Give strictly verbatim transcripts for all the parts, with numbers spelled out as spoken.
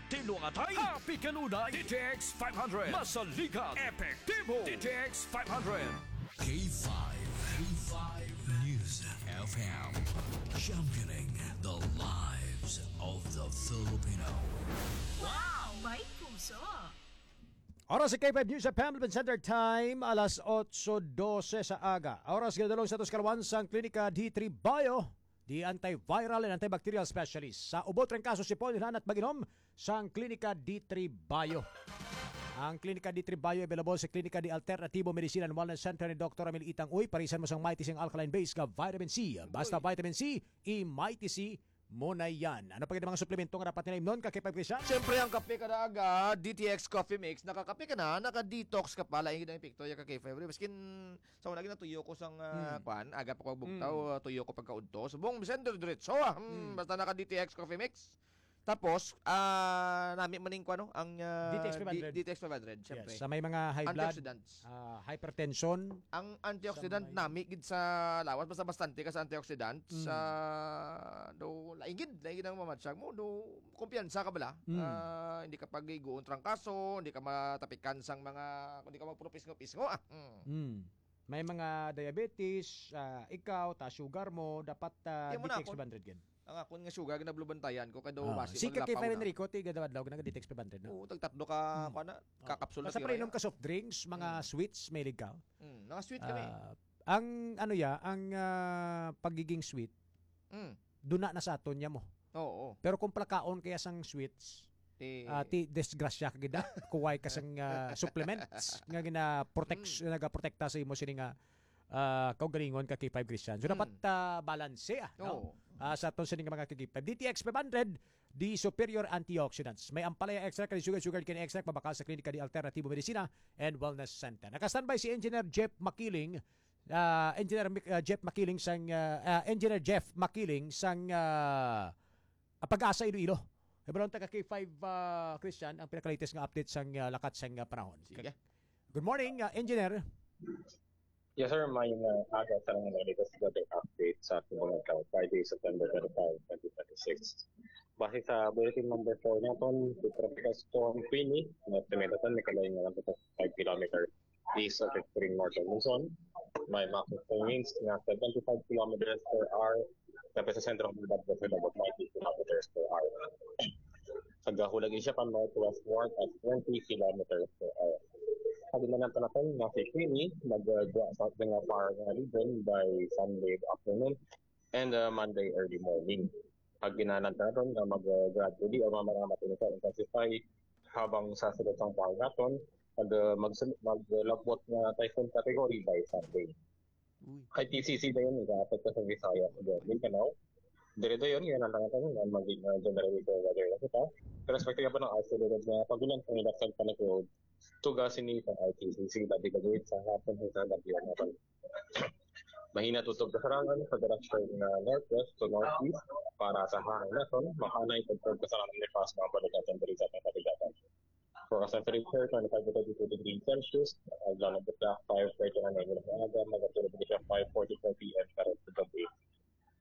Tilo nga atay. Happy kanunay. D T X five hundred. Masaligan. Epektibo. D T X five hundred. K five, K five News F M. Championing the lives of the Filipino. Wow! May puso! Oras sa K five News F M, Urban Center Time, alas otso dose sa aga. Oras ginadalong sa atos kaluwan sang Klinika D three Bio, the antiviral and antibacterial specialist sa ubo, trangkaso, sipon, inhan at pag-inom sang Klinika D three Bio. Ang Klinika D three Bio available sa Klinika de Alternativo Medicine and Wellness Center ni Doktor Ramil Itang Uy. Parisan mo sang Mighty Sing alkaline base nga vitamin C. Basta vitamin C, i-Mighty C mo na yan. Ano pa gid ang mga suplemento nga dapat nila imnon, ka K five Christian? Siyempre, ang kape kada aga, D T X Coffee Mix, nakakape ka na, naka-detox ka pa, lain gid ang epekto ya, ka K five. Maskin sa una, ginatuyo ko sang, ah, Hmm. kwan, aga pa ko bugtaw, Hmm. ah, tuyo ko pagkaudto. Subong, Vicente, diretso, ah. Hmm, Hmm. basta naka-D T X Coffee Mix. Tapos, ah, nami man ning kwan, no? Ang, ah, D T X five hundred. D-, D T X five hundred, siyempre. Yes, sa may mga high blood, Antioxidants. ah, hypertension. Ang antioxidant Sa may nami gid sa lawas, basta bastante ka sa antioxidant, Mm. sa, do, lain gid, lain gid ang mamatsyag mo, do, kumpiyansa ka bala. Mm. Ah, hindi ka pagiguon trangkaso, hindi ka matapikan sang mga, hindi ka magpurupisngo-pisngo, ah. Mm. Mm. May mga diabetes, ah, ikaw, taas sugar mo, dapat, ah, Di mo na D T X ako. five hundred gid. Ang akon nga sugar, ginablubantayan ko, kay daw Ah, basi si Kaki maglapaw Five na. Enrico, ti gadaw-adlaw na D T X five hundred, no? Oo, tagtatlo ka, Hmm. kuwan na, Oh. kakapsul na Basta tira painom yan. ka soft drinks, mga Hmm. sweets, mahilig ka. Hmm, mga sweet kami. Ah, ang, ano ya, ang, ah, pagiging sweet, Hmm. duna na sa aton niya mo. Oo. Pero kung plakaon kaya sang sweets, Ti ah, ti disgrasya ka gid na. Kuway ka sang, ah, supplements nga gina-protect, Hmm. nagaprotekta sa imo sini nga, ah, kaugalingon, ka K five Christian. So, Hmm. dapat, ah, balanse, ah, no? Oo. Ah, sa aton sini nga mga ka K five. D T X five hundred, the superior antioxidants. May ampalaya extract, kani sugar, sugar cane extract, mabakal sa Klinika de Alternativo Medicina and Wellness Center. Naka-standby si Engineer Jeff Makiling, ah, Engineer Mik-, ah, Jeff Makiling sang, ah, ah, Engineer Jeff Makiling sang, ah, ah, Pag-asa Iloilo. Hibaron ta ka K five, ah, Christian, ang pinaka-latest nga update sang, ah, lakat sang, ah, panahon. Sige. Good morning, ah, Engineer. Yes, sir. May, uh, aga sa mga latest weather update sa ating mga tao, Friday, September twenty-five, twenty twenty-six. Base sa bulletin number four naton, the Tropical Storm Queenie, na estimate naton, may kalayo nga one point five kilometer east of extreme northern Luzon. May maximum winds nga seventy-five kilometers per hour, tapos sa sentro ng Bato, sa labot, ninety kilometers per hour. Sa gahulag siya pa northwestward at twenty kilometers per hour. Sa ginanan pa natin, nga si Queenie, nag-, uh, sa mga far nga region by Sunday afternoon and, uh, Monday early morning. Pag ginanan pa natin nga mag, uh, gradually o mamaya matin sa intensify habang sa sulod sang far naton, mag, uh, mag, maglabot nga typhoon category by Sunday. Uy. Kay T C C na yun, nag-aapekto sa Visayas, sa Mindanao. Dire dayon, yan ang tangatang nga maging, uh, general weather na kita. Pero expected pa ng isolated na pagulan kung ilang sa panagod, tuga sini sa I T C C, labi ka sa hapon, sa gabi, ang mga mahina tutob kasarangan sa direksyon nga northwest to northeast para sa hangin naton, mahanay tutob kasarangan ni Pas, mga balikat ang balikat ng kabigatan. Forecast temperature, twenty-five to thirty-two degrees Celsius. Adlaw na buta, five thirty na ngayon ng aga, magatulog siya five forty-four P M para sa gabi.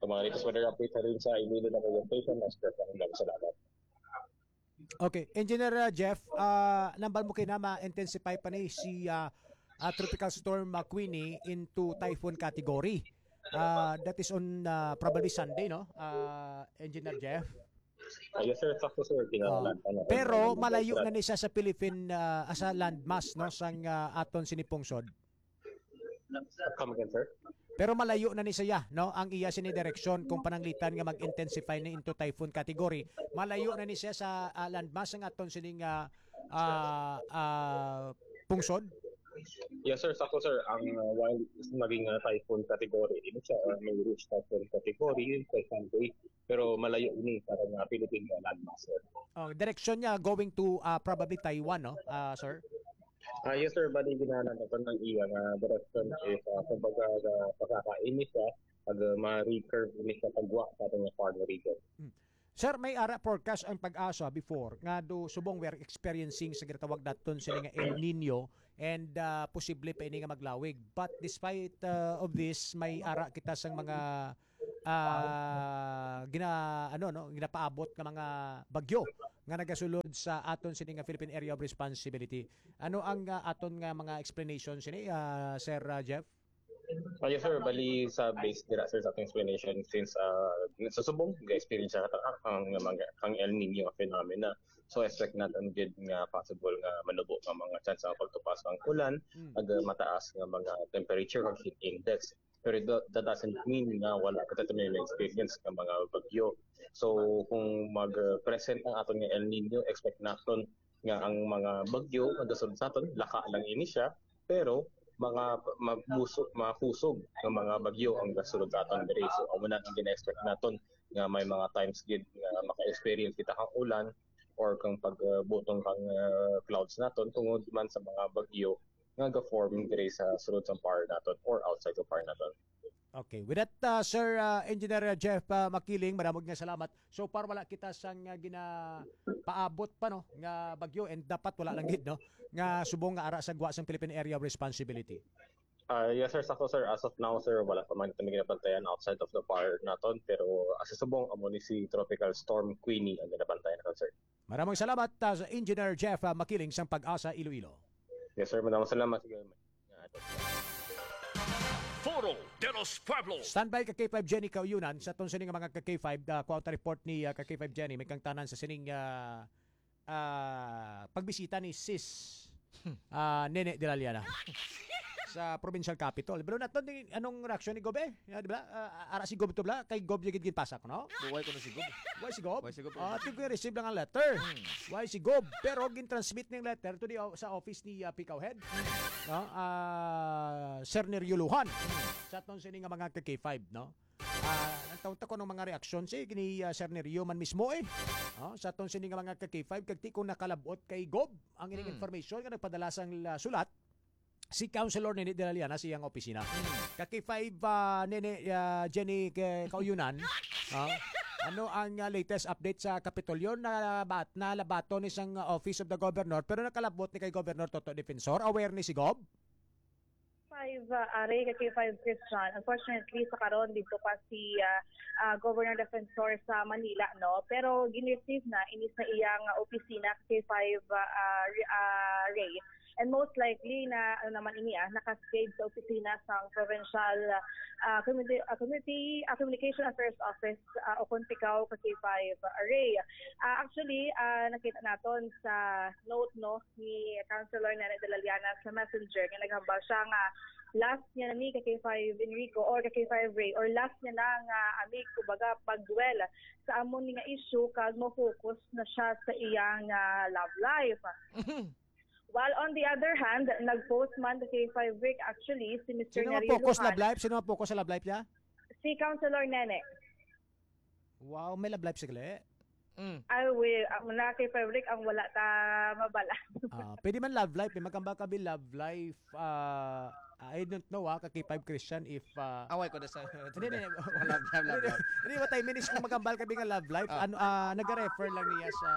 Ang mga latest weather update sa rin sa Iloilo na orientation, mas perfect ang salamat. Okay, Engineer, uh, Jeff, uh, nambal mo kina ma-intensify pa ni si, uh, uh, Tropical Storm, uh, Queenie into typhoon category. Uh, that is on, uh, probably Sunday, no? Uh, Engineer Jeff? Ah, yes, sir. Sakto, sir. Oh. Kinalan, ano, Pero ano, malayo ano, na ni siya sa Philippine, ah, sa landmass, no, sang, ah, aton sini pungsod. Come again, sir? Pero malayo na ni siya, no, ang iya sini direksyon kung pananglitan nga mag-intensify ni into typhoon category. Malayo na ni siya sa, ah, landmass ang aton sining, ah, ah, ah, pungsod. Yes, sir. Sakto, sir. Ang, uh, while maging, uh, typhoon category, ini siya, uh, may reach typhoon category, sa Sunday. Pero malayo ini para nga Philippine landmass, sir. Oh, direksyon niya going to, ah, probably Taiwan, no, ah, sir? Ah, yes, sir. Bali, ginahanap nato ng iya nga direksyon is, ah, kumbaga, ah, pagkakainit siya, pag, ah, ma-recurve ini siya pagwa sa ating foreign region. Hmm. Sir, may ara forecast ang Pag-asa before nga do subong we are experiencing sa ginatawag naton sini nga El Nino and, ah, posible pa ini nga maglawig. But despite, ah, of this, may ara kita sang mga ah, gina-, ano, no, ginapaabot nga mga bagyo nga nagasulod sa aton sini nga Philippine Area of Responsibility. Ano ang, ah, aton nga mga explanation sini, ah, Sir, ah, Jeff? Ah, yes, sir. Bali, sa base dira, sir, sa ating explanation, since, ah, sa subong, ga-experience siya ang, ang, ang El Nino nga phenomena. So, expect natin gid nga possible nga manubo nga mga chance ang pagtupas ang ulan, Mm. ag, ah, mataas nga mga temperature ug heat index. Pero it do-, that doesn't mean nga wala kita may experience nga mga bagyo. So, kung mag, ah, present ang aton nga El Nino, expect naton nga ang mga bagyo nga gasunod sa aton, laka lang ini siya, pero mga mabuso-, makusog nga mga bagyo ang gasunod sa aton diri. So, amo na ang gina-expect naton nga may mga times gid nga maka-experience kita kang ulan or kang pagbutong kang, ah, clouds naton tungod man sa mga bagyo nga ga-form diri sa sulod sang par naton or outside sa par naton. Okay. With that, uh, Sir, uh, Engineer Jeff, uh, Makiling, madamo nga salamat. So far, wala kita sang, uh, ginapaabot pa, no, nga bagyo, and dapat wala lang gid, no, nga subong nga ara sa gwa sang Philippine Area of Responsibility. Ah, yes, sir. Sakto, sir. As of now, sir, wala pa man kami ginabantayan outside of the par naton. Pero, ah, sa subong, amo ni si Tropical Storm Queenie ang ginabantayan naton, sir. Maraming salamat, ah, sa Engineer Jeff, ah, Makiling sang Pag-asa Iloilo. Yes, sir. Maraming salamat. Sige, may-, nga, ato. Foro de los Pueblos. Standby ka K five Jenny Kauyonan. Sa aton sini nga mga ka K five, ah, kuha ta report ni, ah, ka K five Jenny. May kangtanan sa sining, ah, ah, pagbisita ni Sis, ah, Nene de la Liana sa provincial capital. Pero naton din, anong reaksyon ni Gob, eh? Ya, di ba? Ah, ara si Gob to, bla? Kay Gob yung ginpasak, no? Buhay ko na si Gob. Why si Gob? Why si Gob? Ah, tingko yung receive lang ang letter. Why si Gob? Pero gin-transmit ning letter to the o-, sa office ni, ah, Pikaw Head. No? Ah, Sir Nerio Lujan. Sa aton sini nga mga ka K five, no? Ah, ang taon ta ko ng mga reaksyon si gini, ah, Sir Nerio man mismo, eh. Oh, sa aton sini nga mga ka K five, kag ti ko nakalabot kay Gob ang ining Hmm. information nga nagpadala sang, ah, sulat si Councilor Nene de la Liana sa iyang opisina. Ka K five, ah, Nene, ah, Jenny, kay Kauyunan, ah, ano ang, ah, latest update sa Kapitolyo? Nabat-, nalabaton ni sang Office of the Governor, pero nakalabot ni kay Governor Toto Defensor. Aware ni si Gob? Five, ah, Are, ka K five Christian. Unfortunately, sa karon, dito pa si, ah, ah, Governor Defensor sa Manila, no? Pero gin-receive na ini sa iyang opisina, ka K five, ah, ah, Re-, ah, Ray. And most likely na, ano naman ini, ah, naka-stage sa opisina sa Provincial, ah, Community, ah, Community, ah, Communication Affairs Office, ah, o kung tikaw, ka K five, ah, Ray. Ah, actually, ah, nakita naton sa note, no, ni Councilor Nene de la Liana sa Messenger nga naghambal siya nga last niya na ni ka K five Enrico or ka K five Ray or last niya na nga amig, kumbaga, pag-dwell sa amo ni nga issue kag mo-focus na siya sa iyang, ah, love life. While on the other hand, nag-post man ka K five Rick actually si Mister Sino Nerio ma-focus Lujan. Love life? Sino ma-focus sa love life niya? Si Councilor Nene. Wow, may love life si Gle. Mm. I will, ang na kay favorite ang wala ta mabala. Ah, pwede man love life, eh. Magkambal ka bi love life. Ah, I don't know, ah, ka K five Christian if, ah, Away ko na sa Hindi, hindi, hindi. Love, love, love, Hindi, love. hindi, what I mean is kung magkambal ka bi nga love life, Ah. ano, ah, naga-refer lang niya sa,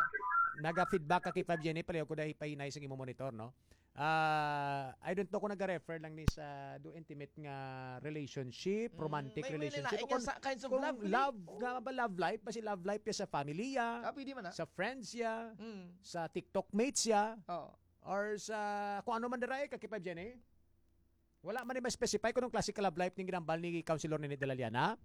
naga-feedback ka K five Jenny, pareho ko dahil pahinay sa imo monitor, no? Ah, I don't know kung naga-refer lang ni sa do intimate nga relationship, Mm, romantic may, may relationship, lain o kung, nga sa kinds of kung love, really. Love nga ba, love life, basi love life ya sa family ya, Ah, pwede man, ah. Sa friends ya, Mm. sa TikTok mates ya, Oo. or sa kung ano man dira, eh, ka K five Jenny? Wala man ni ma-specify kung anong klase ka love life ning ginambal ni Councilor Nene de la Liana?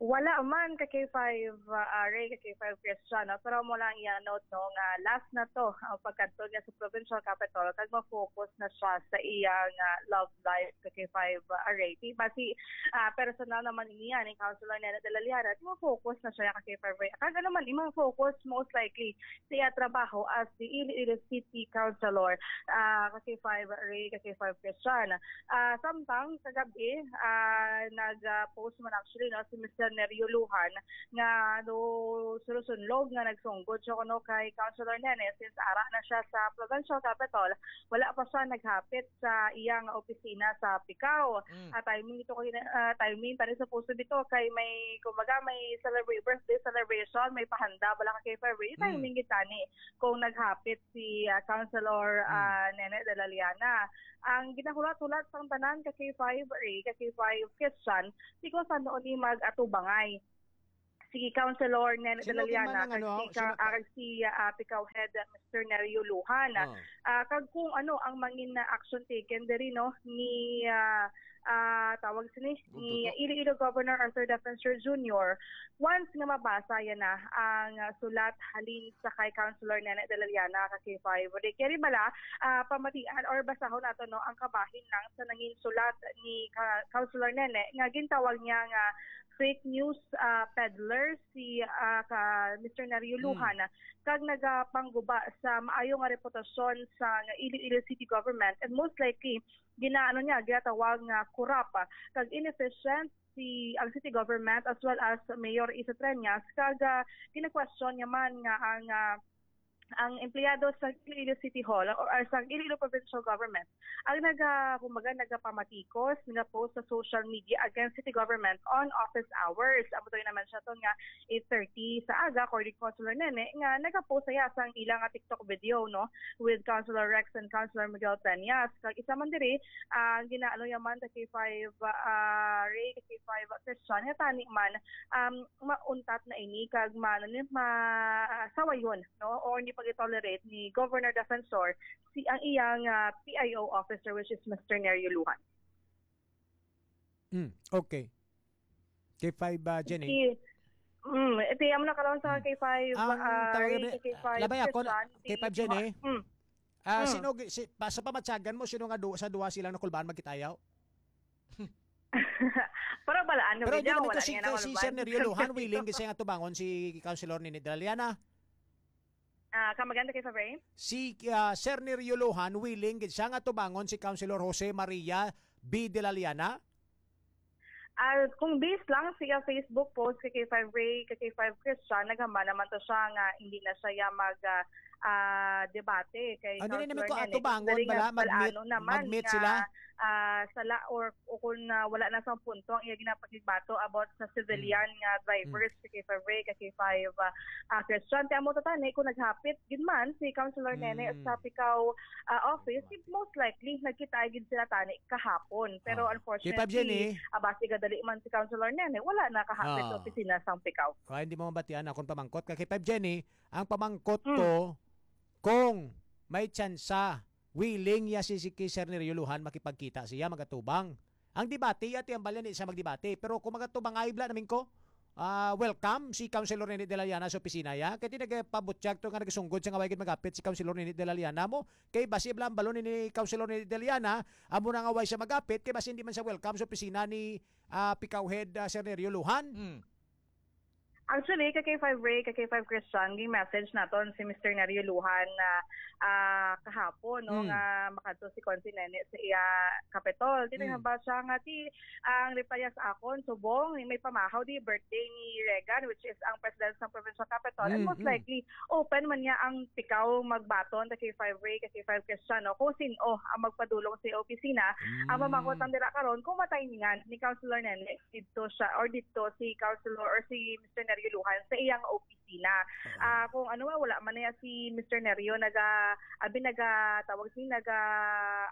Wala man ka K five, uh, Ray, ka K five Christian, no? Pero mo lang iya note, no, nga last na to ang pagkadto niya sa provincial capital kag ma-focus na siya sa iyang, uh, love life ka K five, uh, Ray. Di ba si, uh, personal naman niya ni Councilor Nene de la Liana, di ma-focus na siya ka K five Ray. Kag ano man, di ma-focus most likely sa iya trabaho as the Iloilo City Councilor, uh, ka K five Ray, ka K five Christian. Ah, samtang kagabi, ah, nag, ah, post man actually, no, si Mister Nerio Lujan nga no, sulusunlog nga nagsunggod siya kuno kay Councilor Nene since ara na siya sa provincial capital, wala pa siya naghapit sa iyang opisina sa Picao. Mm. Ah, timing ito kay, ah, timing pa rin supposed to be to kay may, kumbaga, may celebrate, birthday celebration, may pahanda, wala ka kay February, Mm. timing kita ni kung naghapit si, ah, Councilor, Mm. ah, Nene de la Liana. Ang ginahulat-hulat sang tanan ka K five Ray, ka K five Christian, di ko sa noon ni mag-atubang Bangay, si Councilor Nene Sino Dalaliana, man ang kag ano, si, sino ka- ah, kag si, ah, Picao Head, ah, Mister Nerio Luhan. Ah. Ah, kag kung ano ang mangin na action taken diri, no, ni, ah, ah, tawag sini, ni Iloilo Governor Arthur Defensor Junior, once nga mabasa yan na ang, ah, sulat halin sa kay Councilor Nene Dalaliana ka K five. Di kaya bala, ah, pamatian or basahon nato, no, ang kabahin lang sa nangin sulat ni ka-, Councilor Nene nga gintawag niya nga fake news, ah, peddler si, ah, ka Mister Nerio Luhan, kag nagapangguba sa maayo nga reputasyon sa nga Iloilo City Government, and most likely ginaano niya, ginatawag nga corrupt kag inefficient si ang city government as well as Mayor Isa Treñas, kag, ah, gina-question niya man nga ang, ah, ang empleyado sa Iloilo City Hall or, or sa Iloilo Provincial Government ang naga, kumbaga, nagapamatikos, nagapost sa social media against city government on office hours. Amo to naman siya to nga eight thirty sa aga, according to Councilor Nene, nga nagapost siya sa ilang nga TikTok video, no, with Councilor Rex and Councilor Miguel Peñas. Kag isa man diri, ang ginaano niya man sa K five, ah, Ray, sa K five Christian, nga tani man, um, mauntat na ini kag ma-, ano ni, ma-, sawayon, no, or hindi pag-tolerate ni Governor Defensor si ang iyang, ah, P I O officer, which is Mister Nerio Luhan. Mm, okay. K five, ah, Jenny? Si, mm, iti, amo na karon sa K five, Ang ah, tawag Ray, ni, sa K five, labay ako, Christian, si K five, Jenny? Mm. Ah, Mm. sino gi-, si, pa, sa pamatyagan mo, sino nga du-, sa duha silang nakulbaan magkitayaw? Pero balaan mo, Pero video, hindi naman wala to si, niya naman si Sir Nerio Luhan, willing kasi nga tubangon si Councilor Nene Dalaliana. Ah, come again, K five Ray? Si, ah, Sir Nerio Luhan, willing gid siya nga tubangon si Councilor Jose Maria B. Dalaliana. Ah, kung based lang sa Facebook post kay K five Ray, kay K five Christian, naghambal naman to siya nga hindi na siya mag, ah, ah, debate kay Ano na naman Councilor ko, Nene. Atubangon Galing bala, nga mag-meet, palaano naman mag-meet nga, sila? Ah, sala or, o kung, ah, wala na sa punto ang iya ginapakigbato about sa civilian Mm. nga drivers Mm. sa K five Ray, ka K five, ah, ah, Christian. Kaya mo to tani, kung naghapit gid man si Councilor Nene Mm. sa Picao, ah, office, most likely nagkita gid sila tani kahapon. Pero Oh. unfortunately, K five Jenny. Ah, basi gadali man si Councilor Nene, wala na kahapit sa Oh. opisina sang Picao. Kaya hindi mo mabatian akong pamangkot. Kay K five Jenny, ang pamangkot Mm. ko, kung may tsansa, willing ya si, si Sir Nerio Luhan makipagkita siya, magatubang. Ang debate, ya, ti ang balyan, di siya magdebate. Pero kung magatubang, ay bla namin ko, ah, welcome si Councilor Nene Dalaliana sa opisina ya. Kaya ti nagpabutyag to nga nagsunggod sa nga way gid magapit si Councilor Nene Dalaliana mo. Kay basi bla ang balon ni Councilor Nene Dalaliana, amo na nga way siya magapit, kay basi hindi man siya welcome sa opisina ni, ah, Picao Head, ah, Sir Nerio Luhan. Mm. Actually, ka K five Ray, ka K five Christian, ging-message naton si Mister Nerio Luhan na, ah, kahapon, no, Mm. nga makadto si Consi Nene sa iya Kapitol. Tinanong Mm. ba siya nga, ti, ang reply niya sa akon, subong, may pamahaw di birthday ni Regan, which is ang president sa provincial capital. And Mm, most mm. likely, open man niya ang Picao magbaton sa K five Ray, ka K five Christian, no, kung sin-o ang magpadulong sa opisina. Ang Mm. pamangkot lang dira karon, kung matimingan ni Councilor Nene, didto siya or didto si Councilor or si Mister Nerio Luhan sa iyang opisina. Oo. Ah, kung ano nga, wala man niya si Mister Nerio naga, abi, naga, tawag si, naga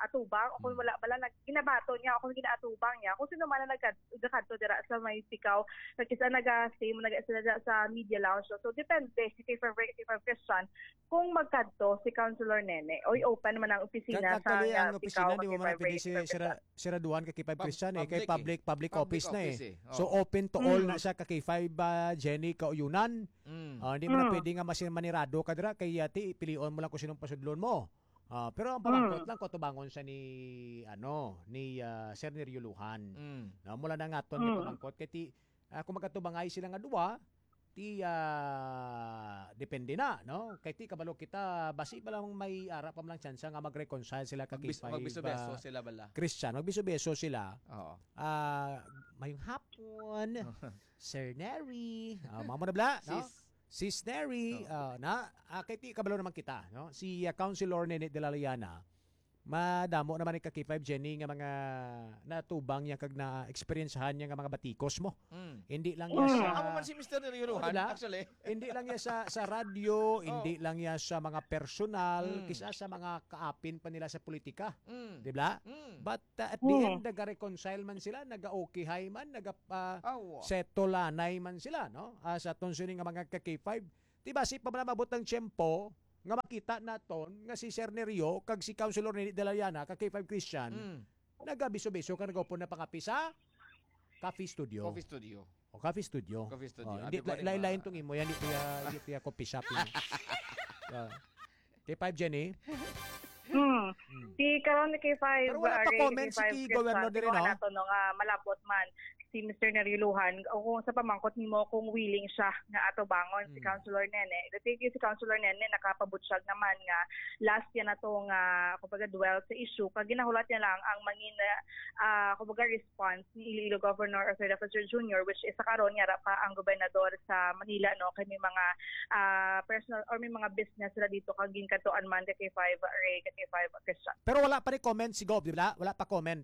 atubang, o kung Hmm. wala bala, nag-, ginabato niya, o kung ginaatubang niya, kung sino man ang nagkad-, nagkadto dira sa may Picao, nag-, isa naga-stay mo, naga-, isa naga sa media lounge. So, depende, si K five Ray, K five Christian, kung magkadto si Councilor Nene, oy, open man ang opisina Kag sa, actually, ang ah, opisina, Picao, di mo man K five pwede Ray, si K five Sira-, Christian. Siraduhan ka K five Pub-, Christian, eh, kay public, public public, public office na, eh. Public office, eh. So, Oo. open to all Mm. na siya ka K five, ah, Jenny Kauyunan. Mm. Ah, hindi mo na Mm. pwede nga masin-, manirado ka dira, kay, ah, ti, pilion mo lang kung sinong pasudlon mo. Ah, pero ang pamangkot Mm. lang, kung tubangon siya ni, ano, ni, ah, Sir Nerio Luhan. Mm. No, mula na nga to, Mm. pamangkot, kay ti, ah, kung magkatubangay sila nga duwa, ti, ah, depende na, no? Kay ti, kabalo kita, basi pa lang may ara pa man lang tsansa nga mag-reconcile sila ka Magbis-, K five, magbiso-beso ah, sila bala. Christian, magbiso-beso sila. Oo. Ah, mayong hapon, Sir Neri. Ah, mamo na bala, no? Sis. Sis Neri, Oo. ah, na, ah, kay ti, kabalo naman kita, no? Si, ah, Councilor Nene de la Liana, Madamo naman ni ka K five, Jenny, nga mga natubang niya kag na-experiencehan niya nga mga batikos mo. Mm. Hindi lang niya Mm. sa Amo man si Mister Neriuluhan, Oh, diba? actually. Hindi lang niya sa, sa radyo, Oh. hindi lang niya sa mga personal, Mm. kisa sa mga kaapin pa nila sa politika. Mm. Di ba? Mm. But, uh, at the Mm. end, nag-reconcile man sila, nag-okay-hay man, nag-, uh, Awa. setolanay man sila, no? Ah, sa aton sini nga mga ka K five, di ba, si pa man mabot ang tiyempo nga makita naton nga si Sir Nerio kag si Councilor Nini de la Llana, ka K five Christian, Mm. nagabiso-biso ka nagupon na pangapi sa Coffee Studio. Coffee Studio. O, Coffee Studio. Coffee Studio. O, hindi, Abi ko la-, ni lain-lain ma- tong imo yan, hindi tiya, hindi tiya coffee shop yun. Ah. K five, Jenny? Hmm. Hmm. Si karon ni K five, Pero wala pa uh, Ray, comment si K five Ki Governor Christian, diri, tingnan no? nato, no, nga malabot man si Mister Neriuluhan, o kung sa pamangkot nimo, kung willing siya nga atubangon si Hmm. Councilor Nene. Kasi si Councilor Nene nakapabutyag naman nga last yan na to nga, kumbaga, dwell sa issue. Kag ginahulat niya lang ang mangin, ah, kumbaga, response ni Iloilo Governor Arthur Defensor Junior, which is sa karon nga pa ang gobernador sa Manila, no, kay may mga, ah, personal or may mga business sila dito kag ginkadtuan man ka K five Ray, ka K five Christian. Pero wala pa ni comment si Gov, di ba? Wala pa comment.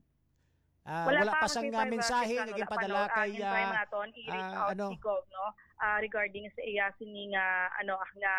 Ah, Wala wala pa pa ang sang, ah, K five mensahe Christian, nga wala pa, ginpadala no. Ang kay, hintay ah, man naton, i-reach ah, out ano? si Gov, no? Ah, regarding sa iya sini nga, ano, nga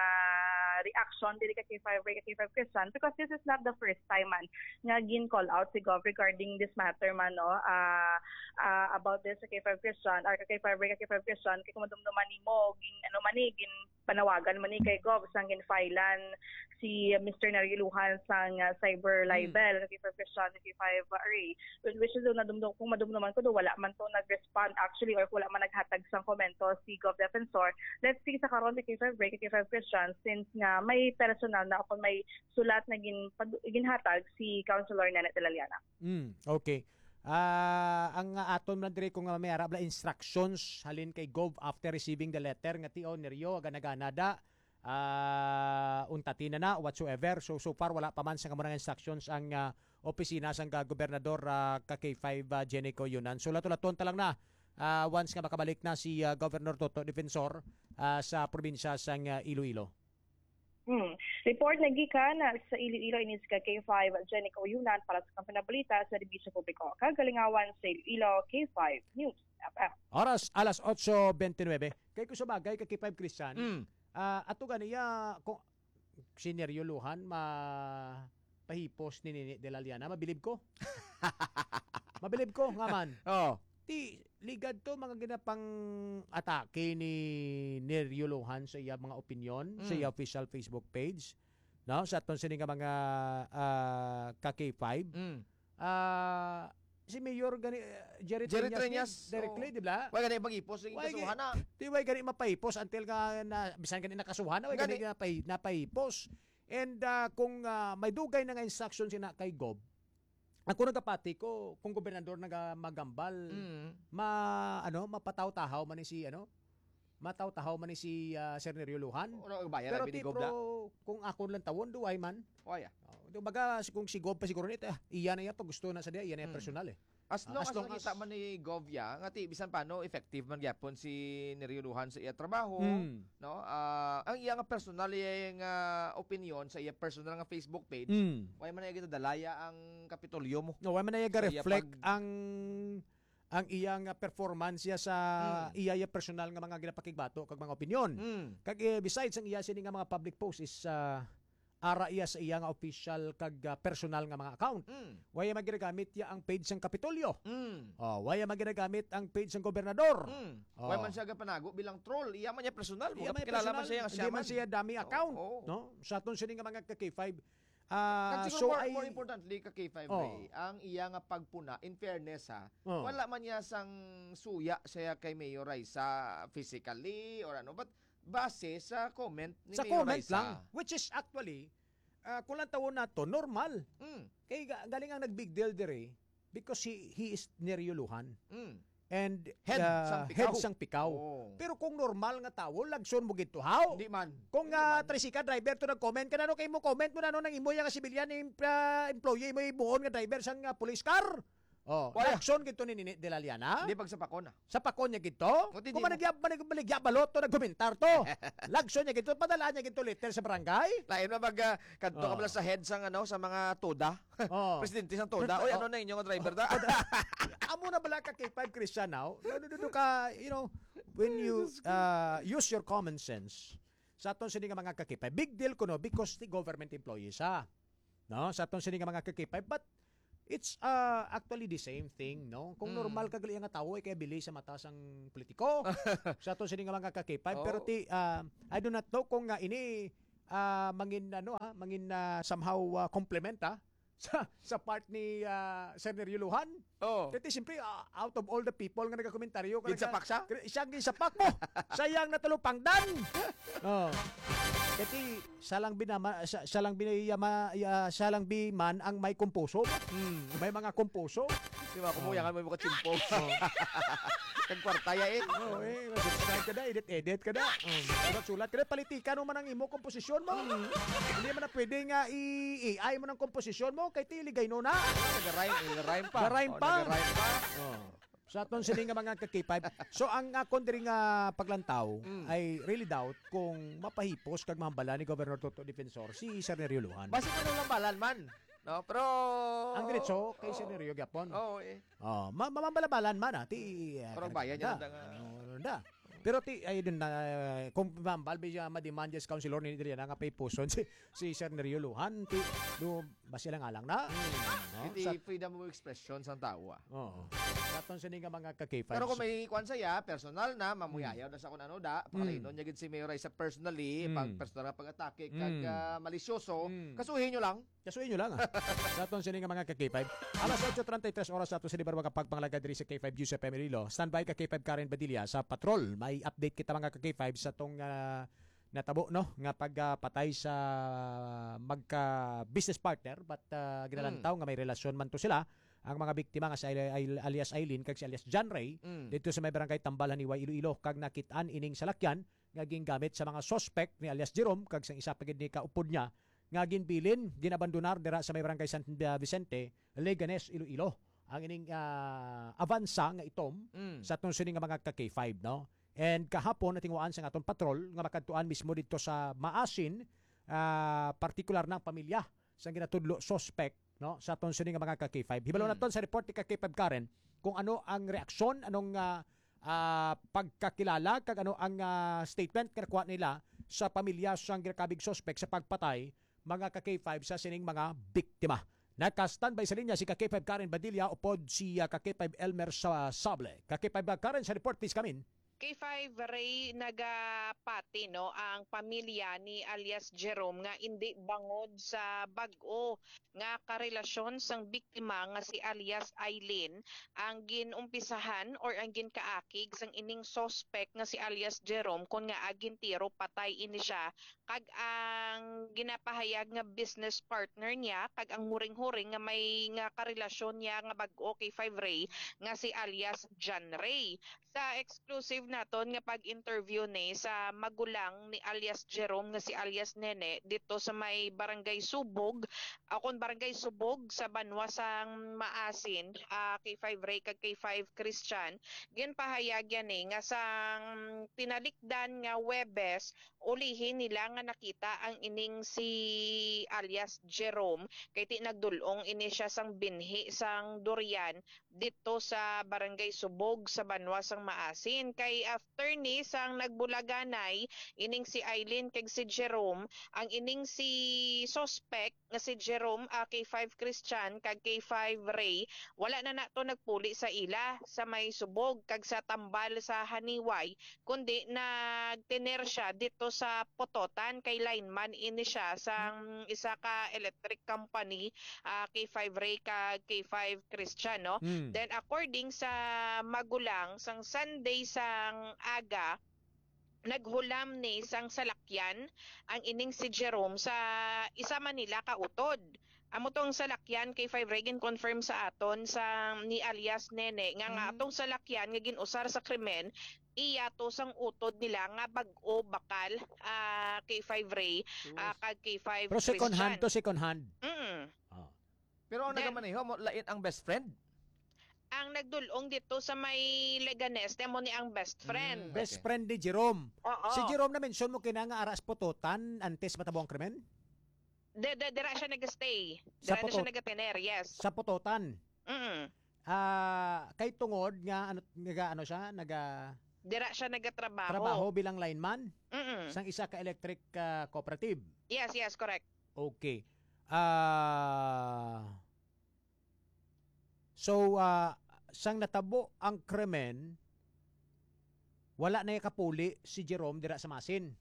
reaction diri ka K five Ray, ka K five Christian, because this is not the first time man nga gin-call out si Gov regarding this matter man, no? Ah, ah, about this sa K five Christian, or ka K five Ray, ka K five Christian, kay kung madumduman nimo, gin, ano man ni, gin panawagan man ni kay Gov sang ginfilean si Mister Neriuluhan sang, ah, cyber Hmm. libel, ka K five Christian, ka K five Ray. Which is, do, nadumdum, kung madumduman ko, do, wala man to nag-respond actually, or wala man naghatag sang komento si Gov Defensor. Let's see sa karon, ka K five Ray, ka K five Christian, since nga may personal na, kung may sulat na gin-, pad-, ginhatag si Councilor Nene de la Llana. Mm, okay. Ah, ang aton man diri kung, ah, may ara bala instructions halin kay Gov after receiving the letter nga, "Tio, Nerio, gana-gana da, ah, untati na na," whatsoever. So, so far, wala pa man sa kamurang instructions ang, ah, opisina sang, ah, gobernador, ah, ka K five, ah, Jenny Coyunan. So, lato-laton ta lang na, ah, once nga makabalik na si, ah, Governor Toto Defensor, ah, sa probinsya sang, ah, Iloilo. Hmm. Report na gikan sa Iloilo, ini si ka K five Jenny Coyunan para sa Kampiyon na Balita sa Serbisyo Publiko. Kagalingawan sa Iloilo, K five News F M. Oras, alas otso bente nuebe. Kay kung sa bagay, ka K five Christian, Mm. ah, ato ganiya, kung si Nerio Lujan, ma-, pahipos ni Nini de la Llana, mabilib ko. Mabilib ko, nga man. Oh. Ti, ligad to, mga ginapang-atake ni Nerio Lujan sa iya mga opinyon, sa Mm. iya official Facebook page. No? Sa aton sini nga mga, ah, ka K five. Mm. Ah, si Mayor gani, eh, Jerry Jerry Treñas ni, Treñas, directly, oo. di ba? Wala gani pag-ipos, yung Wala kasuhan na. gani, di ba gani mapahipos until nga na, bisan gani nakasuhan na, wala gani Gani. napahi-, napahipos. And, ah, kung, ah, may dugay na nga instruction sina kay Gob, ako nagapati ko, kung gobernador naga-, magambal, Mm. ma-, ano, mapataw-tahaw man ni si, ano, mataw-tahaw man ni si, ah, Sir Nerio Lujan. Wala ang bayad, Pero abi ni ti, Gob pro, na. kung ako lang tawon, duway man. Wala. Oh, di, baga, si, kung si Gob pa siguro nito, ah, iya na iya pag gusto na sa diya, iya na iya Mm. personal eh. As Ah, long as as long nakita as man ni Gov ya, nga ti, bisan paano, effective man gyapon si Nerio Lujan sa iya trabaho, Mm. no? Ah, ang iya nga personal, iya nga opinion sa iya personal nga Facebook page, Mm. wala man na iya ginadalaya ang Kapitolyo mo. No, wala man na iya Sa iya ga-reflect pag- ang, ang iya nga performance ya sa Mm. iya, iya personal nga mga ginapakigbato kag mga opinion. Mm. Kag, eh, besides ang iya sini nga mga public post is, ah, ara iya sa iya nga official kag, ah, personal nga mga account. Mm. Wala man ginagamit iya ang page sang Kapitolyo. Mm. Oh, wala man ginagamit ang page sang gobernador. Mm. Oh. Wala man siya gapanago bilang troll. Iya man niya personal. Iya man Kilala man personal. siya nga Hindi siya man man. siya dummy Oo, account, oo. no? Sa aton sini nga mga ka K five. Ah, Kag siguro so more, ay more importantly, ka K five Oh. Ray, ang iya nga pagpuna, in fairness ha, Oh. wala man niya sang suya siya kay Mayor Raisa physically or ano, but base sa comment ni Sa Mayor comment Raisa. lang, which is actually, ah, kung lang tawon nato, normal. Mm. Kay ga-, galing ang nag-big deal diri because he, he is Nerio Lujan. Mm. And, Head ah, sang Picao. head sang Picao. Oo. Pero kung normal nga tawo, lagson mo gid to, haw? Hindi man. Kung, Hindi ah, man. tricycle driver to nag-comment, kanano kay mo comment mo na, no, nang imo yang civilian em-, ah, employee mo ibuon nga driver sang, ah, police car? Oh, Wala. Lagson gid to ni Nini de la Llana. Hindi, pag sa Pacona. Sa Pacona gid to? O, di, Kung di mo. Managya-, manag-, managya balot to, nagkomentar to. Lagson niya gid to, padala niya gid to letter sa barangay. Lain na mag, ah, kadto ka Oh. pala sa head sang, ano, sa mga toda. Oh. Presidente sang toda. Oy, Oh. ano na inyo nga driver da? Amo na bala ka K five Christian now? No, no, no, no, ka, you know, when you, uh, use your common sense, sa aton sini nga mga ka-K five, big deal kuno because the government employees, ha? No? Sa aton sini nga mga ka-K five, but it's, uh, actually the same thing, no? Kung Mm. normal ka gali nga tawo, ay kay bili sa mata sang politiko. Sa aton sini nga mga ka-K five, pero Oh. ti, uh, I do not know kung nga ini, uh, mangin, ano, ha, mangin, uh, somehow, uh, complement, ha, sa, sa part ni, uh, Sir Nerio Lujan. Oh. Kaya ti, siyempre, uh, out of all the people nga nagakomentaryo, Ginsapak siya? Kaya siya ang ginsapak mo. Sayang na talupangdan. Oh. Kaya ti, siya lang binama, siya, siya lang binayama, ya-, siya lang biman ang may kumpuso. Hmm. May mga kumpuso. Di ba, kumuyangan mo yung mga chimpo. Oh. Kag kwarta ya eh. Oo, eh. Subscribe ka na, edit-edit ka na. Mm. Sulat-sulat ka na, politikan mo man ang imo komposisyon mo. Mm. Hindi man na pwede nga i-A I mo ng komposisyon mo, kay ti ligay no na. Nag-rhyme, nag-rhyme pa. Nag-rhyme Oh, pa. nag-rhyme pa. Oh. Sa aton sini nga mga ka-K five. So, ang akon diri nga paglantaw Mm. ay really doubt kung mapahipos kag mahambala ni Governor Toto Defensor si Sir Nerio Lujan. Basi ko nang lambalan man. No? Pero Ang diretso kay Oo. Sir Nerio gyapon. Oo, eh. Oh, ma-, mamambalabalan man, ah, ti, ah, Pero bayan niya da. lang nga. Ano, ano da. Pero ti, ay, dun na, eh, kung mambal, bi siya ma-demand yes, Councilor ni Adriana nga pay puson si, si Sir Nerio Lujan, ti, do, ba sila nga lang na? Hmm. No? Iti Sa freedom of expression sang tawo, ah. Oo. Sa aton sini nga mga ka-K five. Pero kung may kwan saya, personal na, mamuyayaw Hmm. na sa kung ano da, Hmm. pakalinon niya gid si Mayor Raisa personally, Hmm. pag personal nga pag-atake, kag, Hmm. ah, malisyoso, Hmm. kasuhin nyo lang. Kasuhin nyo lang, ah. Sa aton sini nga mga ka-K five. Alas otso treinta y tres oras sa aton sini, baro makapagpangalaga diri sa K five News F M Iloilo. Standby ka K five Karen Badilla sa patrol. May update kita mga ka-K five sa tong, ah, natabo, no, nga pagpatay sa magka-business partner, but, ah, ginalantaw Mm. nga may relasyon man to sila. Ang mga biktima nga si Ai-, Ai-, alias Aileen kag si alias John Ray, Mm. dito sa may barangay Tambal, Janiuay, Iloilo, kag nakit-an ining salakyan nga gingamit sa mga suspect ni alias Jerome kag sang isa pa gid ni kaupod niya nga ginbilin, ginabandonar dira sa may barangay San Vicente, Leganes, Iloilo. Ang ining, ah, avansa nga itom Mm. sa aton sini nga mga ka-K five, no? And kahapon, natinguhaan sa aton patrol nga makadtuan mismo dito sa Maasin, ah, partikular na ang pamilya sa ginatudlo suspect, no, sa aton sini nga mga ka-K five. Hibalo Hmm. naton sa report ni ka-K five Karen kung ano ang reaksyon, anong, ah, ah, pagkakilala, kag ano ang, ah, statement nga nakuha nila sa pamilya sang ginakabig suspect sa pagpatay, mga ka-K five, sa sining mga biktima. Naka-standby sa linya si ka-K five Karen Badilla upod si, ah, ka-K five Elmer sa Sable. Ka-K five Karen, sa report, please come in. K five Ray, nagapati, no, ang pamilya ni alias Jerome nga indi bangod sa bag-o nga karelasyon sang biktima nga si alias Aileen ang ginumpisahan or ang ginkaakig sang ining suspect nga si alias Jerome, kon ngaa gintiro patay ini siya, kag ang ginapahayag nga business partner niya kag ang huring-huring nga may nga karelasyon niya nga bag-o, K five Ray, nga si alias John Ray. Sa exclusive naton nga pag-interview ni sa magulang ni alias Jerome nga si alias Nene dito sa may Barangay Subog, o kon Barangay Subog sa banwa sang Maasin, ah, K five Ray kag K five Christian, ginpahayag yan ni nga sang tinalikdan nga Huwebes, ulihi nila nga nakita ang ining si alias Jerome, kay ti nagdul-ong ini siya sang binhi sang durian dito sa Barangay Subog sa banwa sang Maasin. Kay after ni sang nagbulaganay ining si Aileen kag si Jerome, ang ining si suspect nga si Jerome, ah, K five Christian kag K five Ray, wala na nato nagpuli sa ila sa may Subog kag sa Tambal sa Janiuay, kundi nagtener siya dito sa Pototan, kay lineman ini siya sang isa ka electric company, ah, K five Ray kag K five Christian, no? Mm. Then, according sa magulang, sang Sunday sang aga, naghulam ni sang salakyan ang ining si Jerome sa isa man nila ka utod. Amo tong salakyan, K five Ray, gin-confirm sa aton sa ni alias Nene nga, nga Mm. atong salakyan nga gin-usar sa krimen, iya to sang utod nila nga bag-o bakal, ah, K five Ray, Sus. ah, kag K five Pero second hand Christian. to, second hand. Mm. Oh. Pero ang Then, nagamaneho mo, lain ang best friend? ang nagdulong dito sa may Leganes, amo ni ang best friend. Mm, best Okay. friend ni Jerome. Oo. Si Jerome, na-mention mo kina nga ara sa Pototan antes matabo ang krimen? De, de, dira siya nag-stay. Sa Dira na siya Potot- nag-tenere, yes. Sa Pototan. Mm. Ah, kay tungod nga ano, naga ano siya, naga Dira siya nagtrabaho. Trabaho bilang lineman Mm. sang isa ka electric ah, cooperative. Yes, yes, correct. Okay. Ah, so ah, sang natabo ang krimen, wala na kapuli si Jerome dira sa Masin.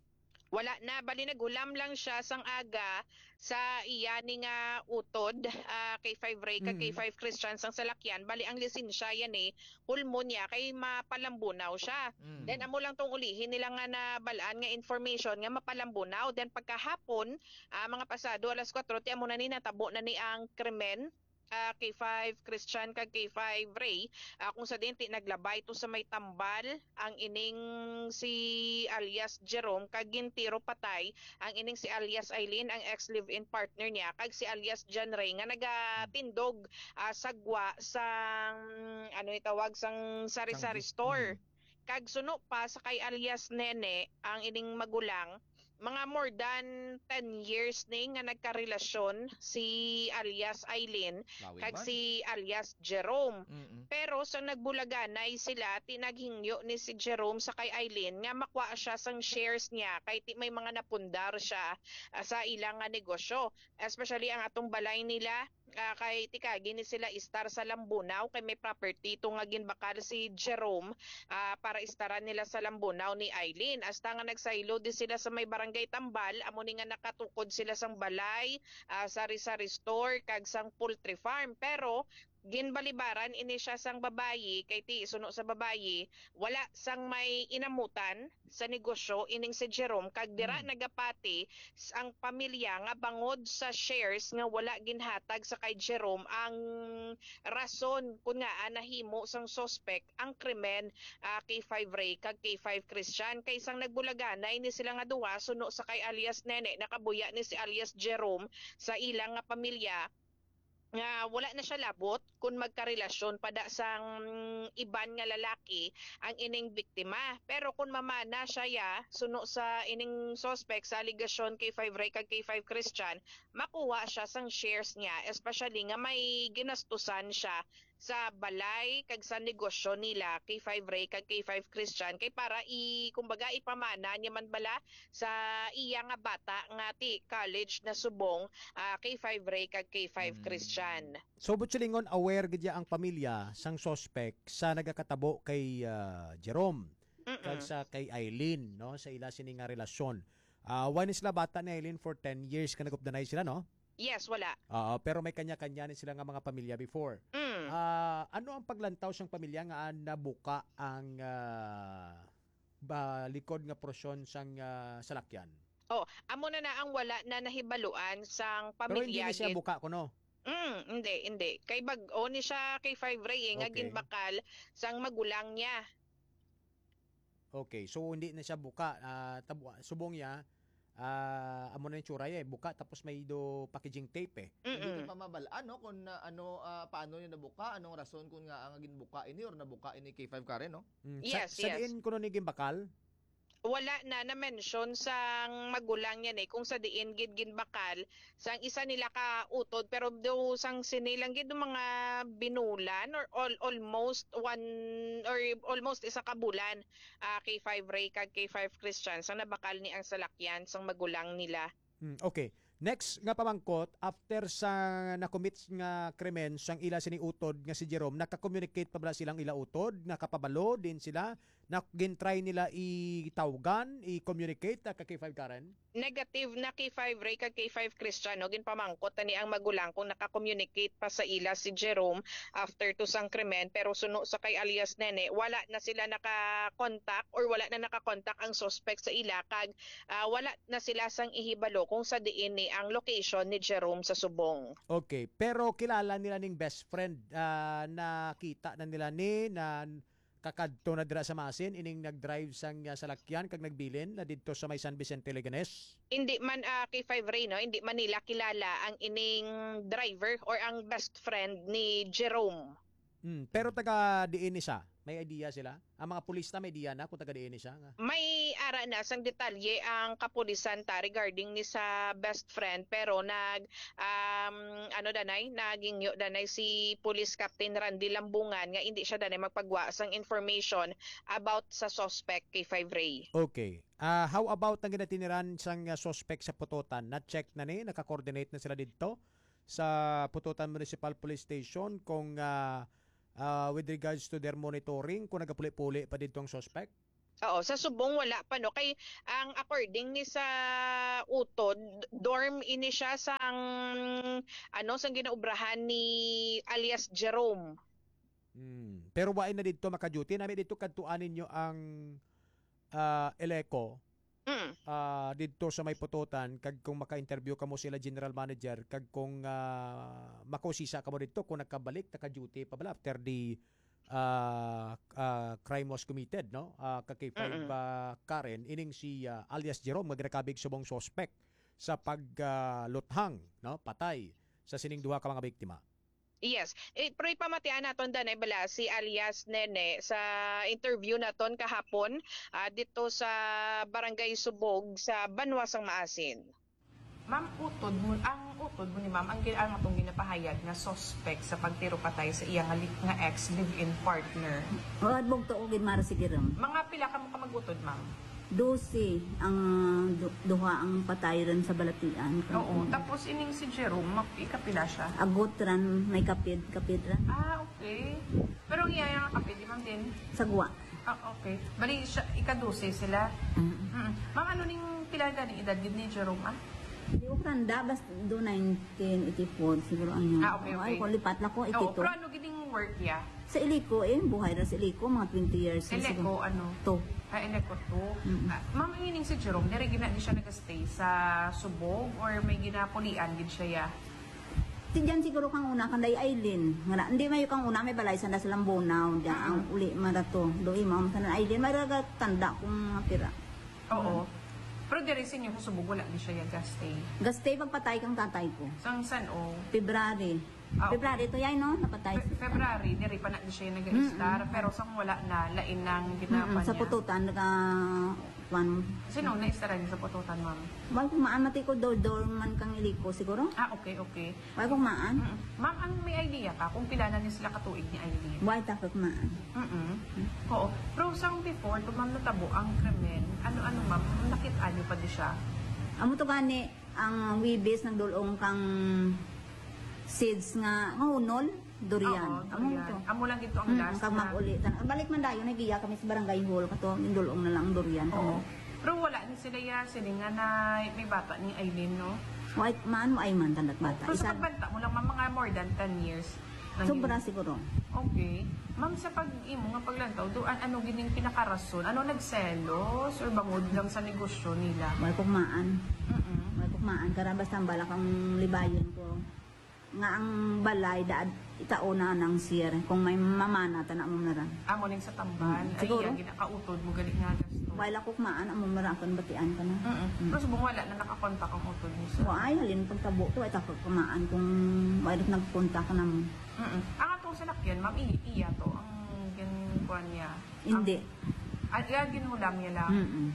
Wala na, bali naghulam lang siya sang aga sa iya ni nga utod, ah, K five Ray kag Mm. K five Christian sang salakyan. Bali ang lisensya yan eh, hulmo niya kay mapalambunaw siya. Mm. Then amo lang tong ulihi nila nga nabalaan nga information nga mapalambunaw. Then pagkahapon, ah, mga pasado alas kwatro, ti amo na ni natabo na ni ang krimen. Ah, K five Christian kag K five Ray, ah, kung sa diin ti naglabay to sa may tambal ang ining si alias Jerome kag gintiro patay ang ining si alias Eileen, ang ex live-in partner niya, kag si alias John Ray nga nagatindog ah, sa gwa sang ano itawag sang sari-sari Sang- store. Mm. Kag suno pa sa kay alias Nene ang ining magulang, mga more than ten years ni nga nagkarelasyon si alias Eileen Lawi kag man. si alias Jerome. Mm-mm. Pero sa nagbulaganay sila, ti naghingyo ni si Jerome sa kay Eileen nga makuha siya sang shares niya kay ti may mga napundar siya ah, sa ilang nga negosyo. Especially ang atong balay nila, ah, kay tikagi ni sila istar sa Lambunao kay may property to nga ginbakal si Jerome ah, para istaran nila sa Lambunao ni Eileen. Hasta nga nagsaylo di sila sa may barangay Tambal, amo ni nga nakatukod sila sang balay, ah, sari-sari store kag sang poultry farm. Pero ginbalibaran ini siya sang babayi kay ti suno sa babayi wala sang may inamutan sa negosyo ining si Jerome kag dira Hmm. nagapati s- ang pamilya nga bangod sa shares nga wala ginhatag sa kay Jerome ang rason kun ngaa nahimo sang suspect ang krimen ah, K five Ray kag K five Christian kay sang nagbulaganay ni sila nga duha suno sa kay alias Nene nakabuya ni si alias Jerome sa ilang nga pamilya nga wala na siya labot kung magkarelasyon pa da sang iban nga lalaki ang ining biktima. Pero kung mamana siya ya, suno sa ining suspect sa alegasyon K five Ray kag K five Christian, makuha siya sang shares niya, especially nga may ginastusan siya sa balay kag sa negosyo nila K five Ray kag K five Christian kay para i kumbaga ipamana niya man bala sa iya nga bata nga ti college na subong ah, K five Ray kag K five Mm. Christian. So, buot silingon, aware gid ya ang pamilya sang suspect sa nagakatabo kay ah, Jerome Mm-mm. kag sa kay Eileen, no, sa ila sini nga relasyon. Ah, wala ni sila bata ni Eileen for ten years ka nagupdanay sila, no? Yes, wala. Oo, pero may kanya-kanya ni sila nga mga pamilya before. Mm. Ah, ano ang paglantaw sang pamilya nga nabuka ang ah, ba, likod nga porsyon sang ah, salakyan? Oh, amo na na ang wala na nahibaluan sang Pero hindi pamilya na siya gid. Buka kuno. Mm, hindi, hindi. Kay bag-o ni siya kay Five Ray eh, nga Okay. ginbakal sang magulang niya. Okay, so hindi na siya buka. Ah, tabu- subong niya, ah, amo na yung tsura eh. Buka tapos may do packaging tape eh. Hindi Mm-mm. ko pa mabalaan, no, kung ah, ano, ah, paano niya nabuka, anong rason kung nga ang ginbuka ini or nabuka ini K five Karen, no? Mm, Yes, sa, sa yes. diin kuno ni ginbakal? Wala na na-mention sang magulang niya ni kung sa diin gid ginbakal sang isa nila ka utod, pero do sang sini lang gid mga binulan or all, almost one or almost isa ka bulan ah, K Five Ray kag K Five Christian sang nabakal ni ang salakyan sang magulang nila. Hmm, okay. Next nga pamangkot, after sa nakomit nga krimen sang ila sini utod nga si Jerome, naka-communicate pa bala silang ila utod? Nakapabalo din sila? Na gintry nila itawgan, i-communicate ah, ka K five Karen? Negative na K Five Ray kag K Five Christian, no? Ginpamangkot na ni ang magulang kung naka-communicate pa sa ila si Jerome after to sang krimen, pero suno sa kay alias Nene, wala na sila naka-contact or wala na naka-contact ang suspect sa ila kag ah, wala na sila sang ihibalo kung sa diin ni ang location ni Jerome sa subong. Okay, pero kilala nila ning best friend, ah, nakita na nila ni na kakadto na dira sa Masin ining nag-drive sang ah, salakyan kag nagbilin na didto sa may San Vicente, Leganes. Hindi man ah, K Five Ray, no? Hindi man nila kilala ang ining driver or ang best friend ni Jerome. Mm, pero taga diin ni siya? May idea sila? Ang mga pulis na may idea na kung taga diin ni siya nga? May ara na sang detalye ang kapulisan ta regarding ni sa best friend, pero nag, um, ano danay, nagingyo danay si Police Captain Randy Lambungan nga hindi siya danay magpagwa sang information about sa suspect, K five Ray. Okay. Ah, how about ang ginatiniran sang, ah, suspect sa Pututan? Na-check na ni, naka-coordinate na sila didto sa Pututan Municipal Police Station kung, ah, ah, with regards to their monitoring, kung nagapuli-puli pa didto ang suspect? Oo, sa subong wala pa, no, kay ang according ni sa utod, dorm ini siya sang, ano, sang ginaobrahan ni alias Jerome. Hmm. Pero wa na didto maka-duty, nami didto kadtuan ninyo ang, ah, Eleco, Mm. ah, didto sa may Pututan, kag kung maka-interview kamo sila general manager, kag kung, ah, makausisa kamo didto kung nakabalik, naka-duty pa bala after the, ah, ah, crime was committed, no? Ah, ka K five, Mm-mm. ah, Karen, ining si, ah, alias Jerome, nga ginakabig subong suspect sa pag, ah, luthang, no? Patay sa sining duha ka mga biktima. Yes. Eh, pero ipamatian naton danay bala si alias Nene sa interview naton kahapon, ah, dito sa Barangay Subog sa Banwa sang Maasin. Ma'am, utod mo, ang utod mo ni ma'am, ang gin-, ang atong ginapahayag nga suspect sa pagtiro patay sa iya nga li-, nga ex live-in partner. O, adbog to, ugid, Mara, sige rin. Mga pila ka mo ka mag-utod, ma'am? Dose ang, ah, du-, duha ang patay rin sa balatian. Oo, tapos ining si Jerome, mag-, ikapila siya? Agot ran, may kapid, kapid ran. Ah, okay. Pero ang iya nga kapid, di ma'am din? Sagwa. Ah, okay. Bali, siya, ika-dose sila? Mm. Mm. Ma'am, ano ning pila gani edad gid ni Jerome, ah? Di ko tanda, basta do nineteen eighty-four siguro ang niya. Ah, okay, Ay, okay. Kung lipat lang ko, Oo, eighty-two. Pero ano gid ning work niya? Sa Iliko, eh, buhay na sa Iliko, mga twenty years na Iliko, siguro. Ano? Two. Ah, Iliko two. Mm. Ah, ma'am, ang ining si Jerome, diri gina di siya nag-stay sa Subog or may ginapulian gid siya, ya? Ti diyan siguro kang una, kang day Aileen. Nga na, hindi mayo kang una, may balay sa Las Lambunaw. Diyan, ang Mm. uli, marato. Doon, ma'am, sa Aileen, may raga tanda kung mga pira. Oo. Pero diri sa inyo sa Subog, wala di siya ya gastay. Gastay pagpatay kang tatay ko. Sang san o? February. Ah, okay. February to yan, no? Napatay Fe-, siya. February, diri pa na di siya nag-istar. Mm-mm. Pero sang wala na, lain nang Mm-mm. ginapan Sa niya. Pututan, naka, kwan. Sino na-istaran niya sa Pututan, ma'am? Wala ko maan, mati ko, dor-, dorman kang Iliko, siguro? Ah, okay, okay. Wala ko maan. Mm-mm. Ma'am, ang may idea ka kung pila na ni sila katuig ni Aileen? Wala ta ko maan. Mm-mm. Oo. Pero sang before, to, ma'am, natabo ang krimen, ano-ano, ma'am, nakit-an niyo pa di siya? Amo to gani, ang Webes nagdulong kang seeds nga, nga hunol, durian. Oo, Amo durian. to. Amo lang gito ang Mm, last kag na. mag-uli. Tan-, balik man dayon, nagiya kami sa barangay hall, kato, nindulong na lang ang durian. Oo. Kamo. Pero wala ni sila ya, sila nga na may bata ni Aileen, no? Wait man, mo ay man, tandat bata. Pero sa Isa pagbanta mo lang, ma'am, mga more than ten years. Nang Sobra yun. siguro. Okay. Ma'am, sa pag-imo nga paglantaw, do, an-, ano gining pinakarason? Ano, nagselos or bangod lang sa negosyo nila? May kukmaan. Mm-mm. May kukmaan. Kara basta ang balak ang libayon ko. Nga ang balay, daad, itao na nang sir. Kung may mamana, tana mo na ran. Amo ning sa tambal. Mm, Ay, siguro. Yan, ginakautod mo, gali nga gasto. Wala kukmaan, amo mara akong batian ka na. Mm-mm. Mm. Pero subong wala na nakakontak ang utod mo, sir. Wa, ay, halin pagtabo to, ay, takot kumaan kung wala nagpunta ka na mo. Mm-mm. Ang atong salakyan, ma'am, i-, iya to, ang ginkuan niya. Hindi. Ang, ah, iya, ginhulam niya lang. Mm-mm.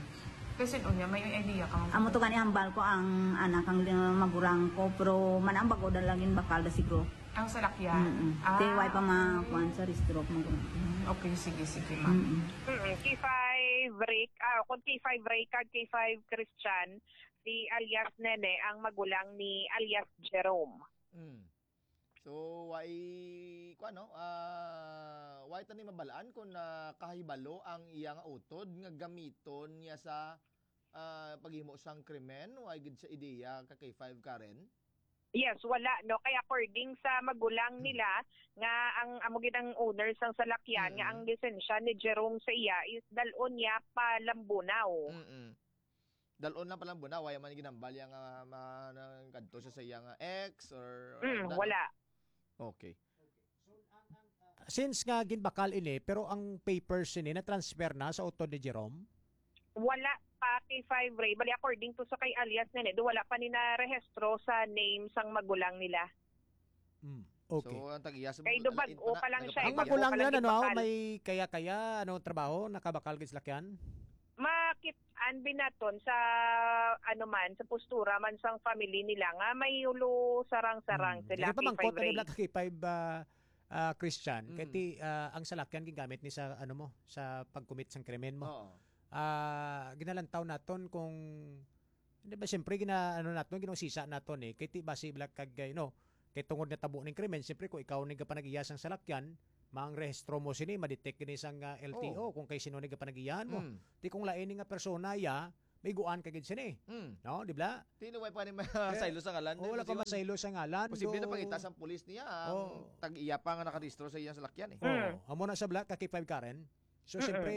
Kasi unya, may idea ka, ma'am. Amo to gani hambal ko ang anak, ang li-, magurang ko, pero man ang bago na lang yung bakal na siguro. Ang salakyan? Mm-mm. Ah, Kay why pa ma-, okay. kuwan sa restaurant, magurang. Mm, okay, sige, sige, ma'am. Mm-mm. Mm, K five Rick, ah, kung K five Rick kag K five Christian, si alias Nene ang magulang ni alias Jerome. Mm. So, why, kuwan, no? Ah, why tani mabalaan kung, ah, kahibalo ang iya nga utod nga gamiton niya sa, ah, paghimo sang krimen? Why gid sa ideya ka K five, Karen? Yes, wala, no? Kay according sa magulang Hmm. nila, nga ang amo gid ang owner sang salakyan, nga Mm. ang lisensya ni Jerome sa iya is dal-on niya pa Lambunao. Mm-mm. Dal-on lang pa Lambunao, wala man ginambal iya nga ma-, nang kadto siya sa iya nga ex or Mm, ano? wala. Okay. Since nga ginbakal ini, pero ang papers ini na-transfer na sa utod ni Jerome? Wala pa, K five Ray. Bali, according to sa kay alias Nene, do wala pa ni narehistro sa name sang magulang nila. Hmm. Okay. So, ang tag-iya sa Kay mga Dubag-o alain pa na, pa lang siya, nagapatag-iya. Ang magulang Dubag-o pa niya, lang ano, gid bakal. May kaya-kaya, ano, trabaho, nakabakal gid sa lakyan? Makit-an binaton sa, ano man, sa postura man sang family nila nga may ulo sarang-sarang Hmm. sila, Kaya pamangkot, K five ano, Ray. Black K five, ah, ah, Christian, kay Mm. ti, ah, ang salakyan gingamit ni sa, ano mo, sa pag-commit sang krimen mo. Oo. Ah, ginalantaw naton kung, di ba, siyempre, gina-, ano naton, ginausisa naton, eh. Kay ti, basi, Black, kag, you know, kay tungod nga tabo ning krimen, siyempre, kung ikaw ni gapanag-iya sang salakyan, maang rehistro mo sini, ma-detect gini sang, ah, L T O Oo. kung kay sino ni gapanag-iyahan mo. Mm. Ti kung lain ni nga persona, ya, maiguan ka gid sini. Mm. No, di ba? Ti, no, way pa ni ma-, Kaya, saylo sa ngalan, o, wala no, pa siguro masaylo sa ngalan, posible na no? pangita sang pulis niya ang Oo. tag-iya pa nga nakarehistro sa iyang salakyan, eh. Oo. Mm. Amo na sa Black, ka K five Karen. So, Mm-mm. siyempre,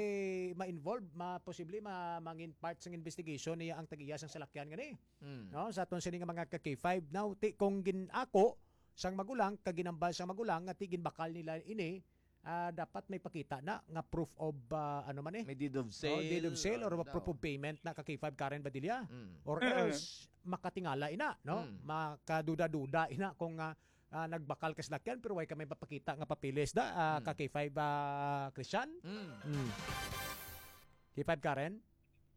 ma-involve, ma-, posible ma-, mangin part sang investigation niya ang tag-iya sang salakyan gani. Mm. No? Sa aton sini nga mga ka K five. Now, ti, kung gin-ako sang magulang, kag ginambal sang magulang, nga ti ginbakal nila ini, ah, dapat may pakita na nga proof of, ah, ano man eh. May deed of Oh, deed of sale, sale or ano proof daw. of payment na ka K five Karen Badilla. Mm. Or Mm. else, makatingala ina, no? Mm. Makaduda-duda ina kung, ah, ah, nagbakal ka salakyan, pero way ka may papakita nga papeles da, ah, Mm. ka K five, ah, Christian? Mm. Mm. K five Karen?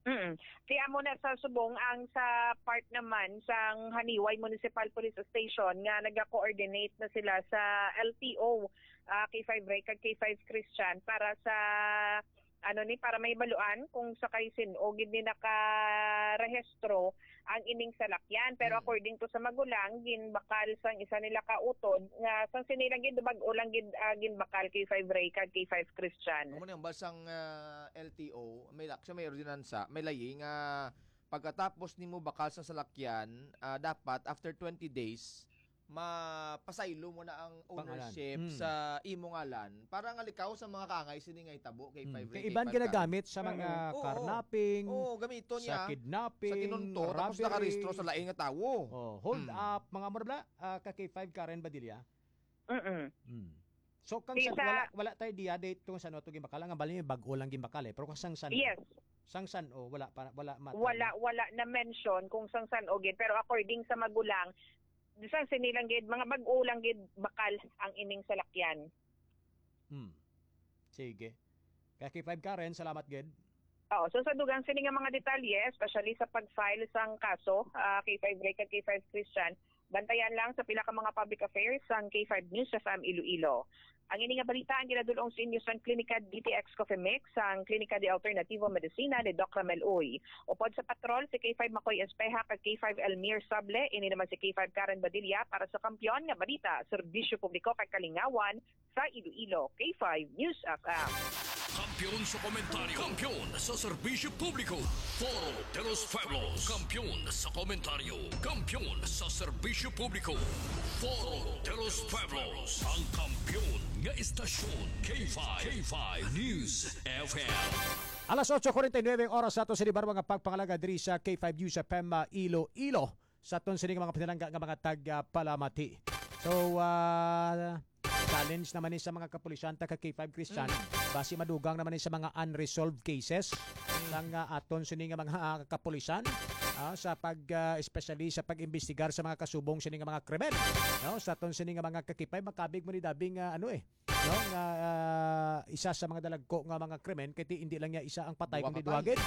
Mm. Kaya mo na sa subong ang sa part naman sang Haniway Municipal Police Station nga nag-coordinate na sila sa L T O, ah, K five Ray kag K five Christian para sa, ano ni, para mahibaluan kung sa kay sin-o gid ni nakarehistro ang ining salakyan. Pero Mm. according to sa magulang, ginbakal sang isa nila ka utod nga sang sini lang gid, bag-o lang gid, ah, ginbakal, K five Ray kag K five Christian. Amo ni ang basang, ah, L T O, may lak-, siya may ordinansa, may layi nga pagkatapos nimo bakal sa salakyan, ah, dapat after twenty days, mapasaylo mo na ang Pangalan. ownership Mm. sa imo ngalan para nga likaw sa mga kaangay sini nga hitabo kay Mm. five Kay Ray, iban kay five ginagamit Karen. sa mga Mm. Oo. carnapping, Oo, gamiton sa niya. kidnapping, Sa kinunto, tapos robbery. nakarehistro sa lain nga tawo. Oh, hold Mm. up, mga mura bla, ah, ka K five Karen Badilla. Mm-mm. Mm. So, kang Di san-, sa wala, wala tayo diya date kung san-o to ginbakal. Ang bali, bag-o lang ginbakal eh. Pero kung sang san-o, Yes. sang san-o, wala pa, wala matan. Wala, wala na mention kung sang san-o gid. Pero according sa magulang, sang sini lang gid, mga bag-o lang gid bakal ang ining salakyan. Hmm. Sige. Kaya K five Karen, salamat gid. Oo, so sa dugang sini nga mga detalye, especially sa pag-file sang kaso, ah, K five Ray kag K five Christian, bantayan lang sa pila ka mga public affairs sang K five News F M Iloilo. Ang ini nga balita ang ginadul-ong sa inyo sang Klinika D T X Coffee Mix, sang Klinika de Alternativo Medicina ni Doc Ramel Uy. Upod sa patrol, si K five Makoy Espeha kag K five Elmir Sable, ini naman si K five Karen Badilla para sa Kampiyon nga Balita, Serbisyo Publiko kag Kalingawan, sa Iloilo, K five News F M. Kampiyon sa komentaryo. Kampiyon sa serbisyo publiko. Foro de los Pueblos. Kampiyon sa komentaryo. Kampiyon sa serbisyo publiko. Foro de los Pueblos. Ang kampiyon nga istasyon. K five, K five News F M. Alas otso kuwarenta y nuebe ang oras sa ato sa libar mga pagpangalaga diri sa K five News F M, ah, Iloilo. Sa aton sini nga mga pinalangga nga mga tag, ah, palamati. So, ah, challenge naman ni sa mga kapulisan, taga K five Christian. Mm. Basi madugang naman ni sa mga unresolved cases Mm. sang, ah, aton sini nga mga, ah, kapulisan, ah, sa pag, ah, especially sa pag-imbestigar sa mga kasubong sini nga mga krimen. No? Sa aton sini nga mga ka K five, makabig mo ni dabing, ah, ano eh, no? Nga, ah, isa sa mga dalagko nga mga krimen, kay ti-, hindi lang niya isa ang patay, Duwa kundi ka duha patay. gid.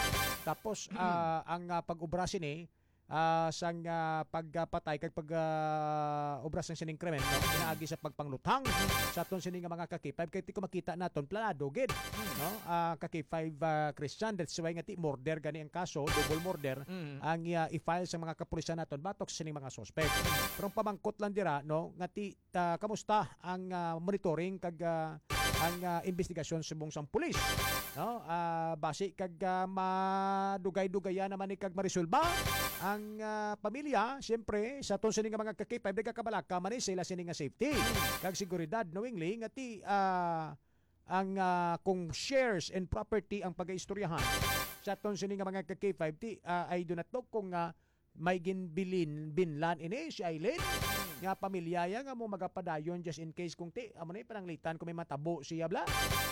Tapos, ah, ang, ah, pag-obra sini, ah, sang, ah, pagpatay kag pag, ah, obra sang sining krimen, no? Pinaagi sa pagpangluthang sa aton sini nga mga ka K five, kay ti ko makita naton, planado gid, no? Ah, ka K five, ah, Christian, that's why nga ti murder gani ang kaso, double murder, Mm. ang, ah, i-file sa mga kapulisan naton batok sa sining mga suspect. Pero ang pamangkot lang dira, no, nga ti, ah, kamusta ang, ah, monitoring kag, ah, ang, ah, investigasyon subong sang pulis, no? Ah, basi kag, ah, madugay-dugayan naman ni kag marisulba ang, ah, pamilya, siyempre, sa aton sini nga mga ka K five, nagakabalaka man ni sila sini nga safety. Kag seguridad, knowingly, nga ti, ah, ang, ah, kung shares and property ang pagaistoryahan sa aton sini nga mga ka K five, ti, ah, I do not know kung, ah, may ginbilin, binlan ini si Aileen nga pamilya ya nga mo magapadayon just in case kung ti, amo na yung pananglitan kung may matabo siya, bla.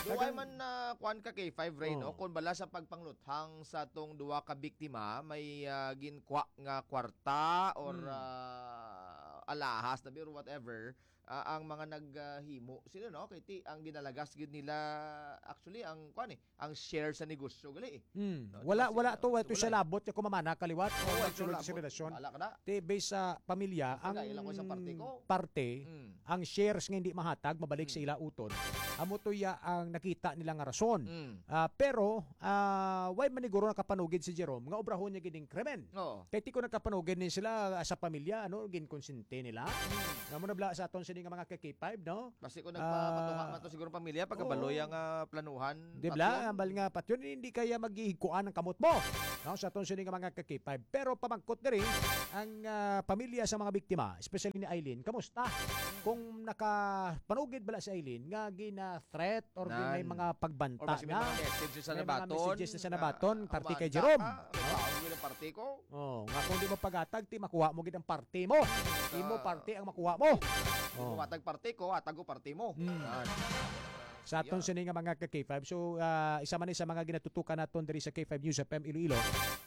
Do Tagang I man na kuan ka kay five Ray, no? Oh. Kung bala sa pagpangluthang sa tong duwa ka biktima, may, ah, ginkwa nga kwarta or, Hmm. ah, alahas na or whatever, ah, ang mga naghimo sila, no? Kay ti, ang ginalagas gid nila, actually, ang, kuwan eh, ang share sa negosyo gali eh. Hmm. No, wala, diba, wala sila, to, wala to wala siya eh. Labot niya kumamana kaliwat. Oo, o wala siya sulod sa labot. Relasyon. Wala ka na. Ti, based sa pamilya, ang Pagkailan ko isang parte ko. Parte, Hmm. ang shares nga hindi mahatag, mabalik sa Hmm. ila utod. Amo to ya ang nakita nila nga rason. Hmm. Ah, pero, ah, why man ni guro nakapanugid si Jerome nga obrahon niya gining krimen? Oo. Kay ti ko nakapanugid ni sila, ah, sa pamilya, ano, ginkonsente nila. Hmm. Nga mo na bala sa aton sini nga mga ka-K five, no? Basi kung Ah, nagpapatuha man to siguro pamilya, pagkabaloy oo. Ang, ah, planuhan, Di bala? Patyon? Ambal nga, Patyon, hindi kaya maghihigkuan ang kamot mo. No, sa aton sini nga mga ka-K five. Pero pamangkot diri, ang, ah, pamilya sa mga biktima, especially ni Eileen, kamusta? Kung nakapanugid bala si Eileen nga gina-threat or gin-, may Nan. Mga pagbanta Or basi may na, mga messages sa may mga nabaton, messages na sa na, nabaton, parte kay "Humanda Jerome. Ka, no? Ang parte ko." Oh, nga kung di mo pagatag, ti makuha mo gid ang parte mo. Sa Imo parte ang makuha mo. Di mo Oh. matag parte ko, atag ko parte mo. Hmm. Yan. Sa aton Yeah. sini nga mga ka-K five. So, ah, isa man ni sa mga ginatutukan naton diri sa K five News F M Iloilo,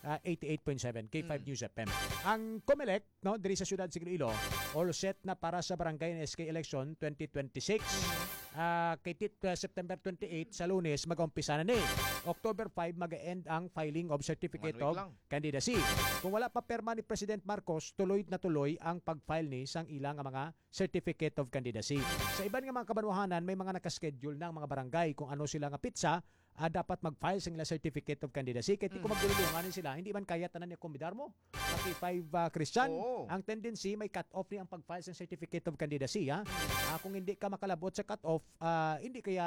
ah, eighty-eight point seven K five Mm. News F M. Ang Comelec, no, diri sa siyudad sa Iloilo, all set na para sa Barangay and S K election twenty twenty-six. Mm. Ah, kay tit-, ah, September twenty-eight, sa Lunes, mag-umpisa na ni. October five, mag-end ang filing of certificate One week of lang. Candidacy. Kung wala pa perma ni President Marcos, tuloy na tuloy ang pag-file ni sang ila nga mga certificate of candidacy. Sa iban nga mga kabanwahanan, may mga nakaschedule na ang mga barangay kung ano sila nga pitsa, ah, dapat mag-file sa ila certificate of candidacy. Kay ti kung Mm. magdulungan ni sila, hindi man kaya tanan ni kumbidar mo. Pati five, ah, Christian, Oo. ang tendency may cut-off ni ang pag-file sa certificate of candidacy, ha? Ah, kung hindi ka makalabot sa cut-off, ah, hindi kaya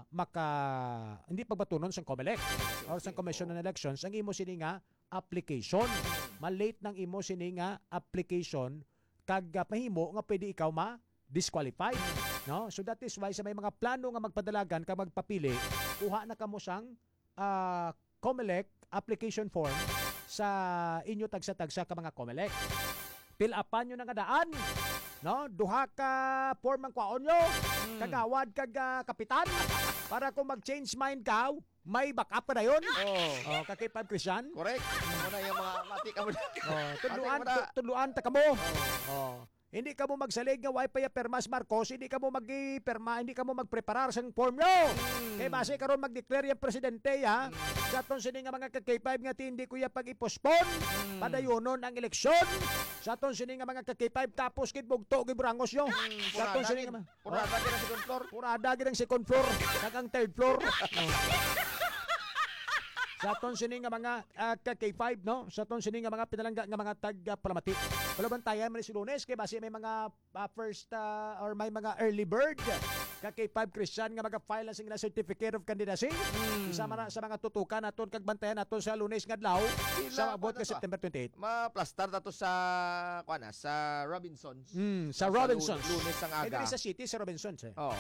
maka-, hindi pagbatunon sa Comelec or sa Commission on Elections ang imo sini nga application. Ma-late nang imo sini nga application kag, ah, mahimo nga pwede ikaw ma-disqualify, no? So that is why sa may mga plano nga magpadalagan kag magpapili, kuha na kamo sang, ah, Comelec application form sa inyo tagsa-tagsa ka mga Comelec. Fill upan nyo na nga daan, no? Duha ka form ang kwaon nyo, Hmm. kagawad kag, ah, kapitan, para kung mag-change mind ka, may backup ka dayon. Oh. Oh, ka-K five Christian. Correct. Amo na yung mga mati ka mo na. Oh, Mati tudluan, ka mo na. Tu-, tudluan ta kamo. Oh. Oh. Hindi kamo magsalig nga way pa ya permas Marcos, hindi kamo magpirma, hindi kamo magpreparar sang form nyo. Hmm. Kay basi karon mag-declare yung presidente, ha? Hmm. Sa aton sini nga mga ka-K five nga ti, hindi ko ya pag-i-postpone. Hmm. Padayonon ang eleksyon. Sa aton sini nga mga ka-K five, kapos gid bugto gid burangos nyo. Hmm. Sa aton Purana sini gid. nga ma-, Purada Oh. gid ang second floor. Purada gid ang second floor, kag ang third floor. Oh. Sa aton sini nga mga, ah, ka K five, no? Sa aton sini nga mga pinalangga nga mga tag, ah, palamati. Wala bantayan man si Lunes, kay basi may mga, ah, first, ah, or may mga early bird ka K five Christian nga maga-file na sing ila certificate of candidacy. Hmm. Isa man na sa mga tutukan naton kag bantayan naton sa Lunes nga adlaw, Ila, sa abot ano ka to? September twenty-eight. Maplastar ta to sa, kuwan na, sa Robinsons. Mm, sa Sa Robinsons. Lu-, Lunes ang Eh, aga. Diri sa city, sa Robinsons, eh. Oo.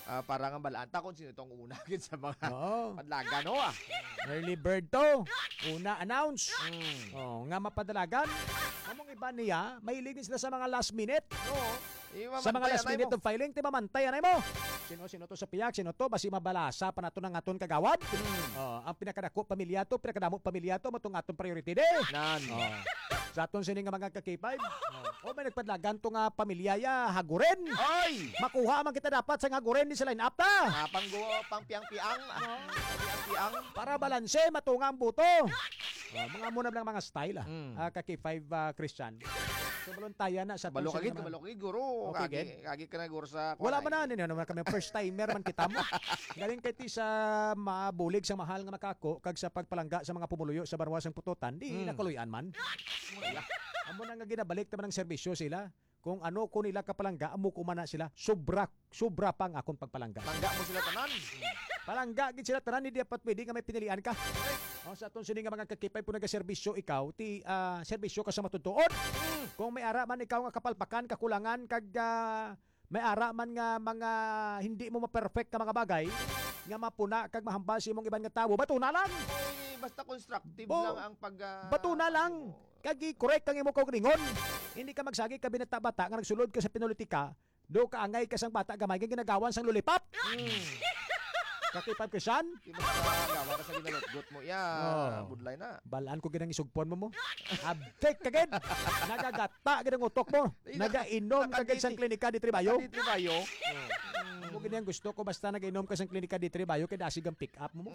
Ah, para nga balaan ta kung sino tong una gid sa mga Oo. padlagan, no, ah. Early bird to. Una announce. Mm. Oh, nga mapadalagan. Among iba niya, mahilig din sila sa mga last minute. Oo. Sa mga last minute of filing, ti mamantayan mo. Sino, sino to sa pihak? Sino to? Basi mabalasa pa nato ng aton kagawad. Mm. Oh, ang pinakadako pamilya to, pinakadamo pamilya to, matong aton priority di. Nan. Oh. Sa aton sini nga mga ka K five. Oh, may nagpadlagan to nga pamilya ya, Haguren. Oy! Makuha man kita dapat sa Haguren di sa line-up ta. Ah, pang gu-, pang piang-piang. Ah, piang-piang. Para balanse, matunga ang boto. Oh, mga muna lang mga style, ah. Mm. Ah, ka K five, ah, Christian. So, balon tayo na sa Balo ka gid, balo ka gid, guro. Okay, kagi, gid. Kagi ka na, guro, sa Wala kuwan, man na, eh. Ano naman kami, first timer man kita mo. Galing kay ti sa mabulig sa mahal nga makako, kag sa pagpalangga sa mga pumuluyo sa banwa sang putotan, di Hmm. nakuluy-an man. Wala. Amo na nga ginabalik naman ang serbisyo sila. Kung ano ko nila kapalangga, amo ko man na sila. Sobra, sobra pa ang akong pagpalangga. Palangga mo sila tanan. Palangga gid sila tanan, hindi dapat pwede nga may pinilian ka. Oh, sa aton sini nga mga ka K five, kung nagaserbisyo ikaw, ti, ah, serbisyo ka sa matutuod. Mm. Kung may ara man ikaw nga kapalpakan, kakulangan, kag, ah, may ara man nga mga hindi mo ma-perfect ka mga bagay, nga mapuna kag mahambal sa imong iban nga tawo, bato na lang. Oy, basta constructive Oh, lang ang pag, ah, bato na lang. Ano mo. Kag i-correct ang imo kaugalingon. Hindi ka magsagi ka binata-bata nga nagsulod ka sa pinulitika, do kaangay ka sang bata gamay nga ginagawan sang lollipop. Mm. Ka K five Christian? Di ba, gawa ka sa ginalutgot mo. Yeah, Oh. Budlay na. Balaan ko gid ang isugpon mo mo. Abtik ka gid. Nagagata gid ang utok mo. Ay, na- Nagainom ka gid sang nakaditi- klinika di Tribayo. Nakaditi Bayo. Mo gid ang gusto ko, basta nagainom ka sang klinika di Tribayo, kay dasig ang pick up mo mo.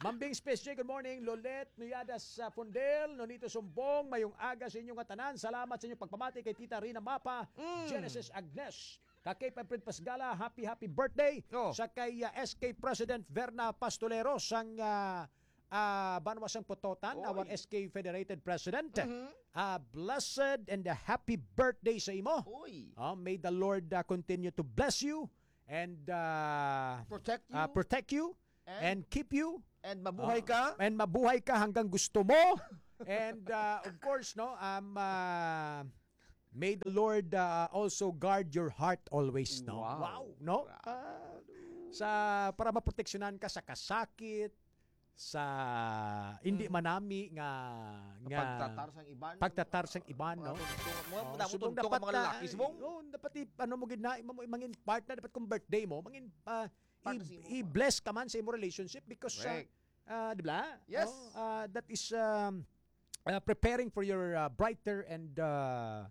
Mambing Space J, good morning. Lolet Nuyadas sa Fundel, Nonito Sumbong, mayong aga sa inyo nga tanan. Salamat sa inyong pagpamati kay Tita Rina Mapa, Mm. Genesis Agnes, ka K five Fred Pasgala, happy, happy birthday. Oh. Sa kay, ah, S K President Verna Pastolero sang, ah, ah, Banwa sang Pototan, Oy. our S K Federated President. Mhm. Ah, blessed and a happy birthday sa imo. Oy. Ah, may the Lord, ah, continue to bless you and, ah, Protect you. ah, protect you And? and keep you. And mabuhay Ah, ka. and mabuhay ka hanggang gusto mo. And, ah, of course, no, um, ah, may the Lord, ah, also guard your heart always, no? Wow. Wow, no? Grabe. Ah, sa, para maproteksyonan ka sa kasakit, sa hindi Mm. manami nga, nga Pagtatar sang iban. pagtatar sang iban, Mga no? tunto-, mga Oh, damo subong tunto nga dapat mga na, lalaki, subong. oh, dapat i-, ano mo gid na, imo mo, mangin partner, dapat kung birthday mo, mangin, ah, Partner i-, sa imo. i-bless ka man sa imo relationship because, ah, Correct. ah, di ba? Yes. Oh, ah, that is, um, ah, preparing for your, ah, brighter and, ah,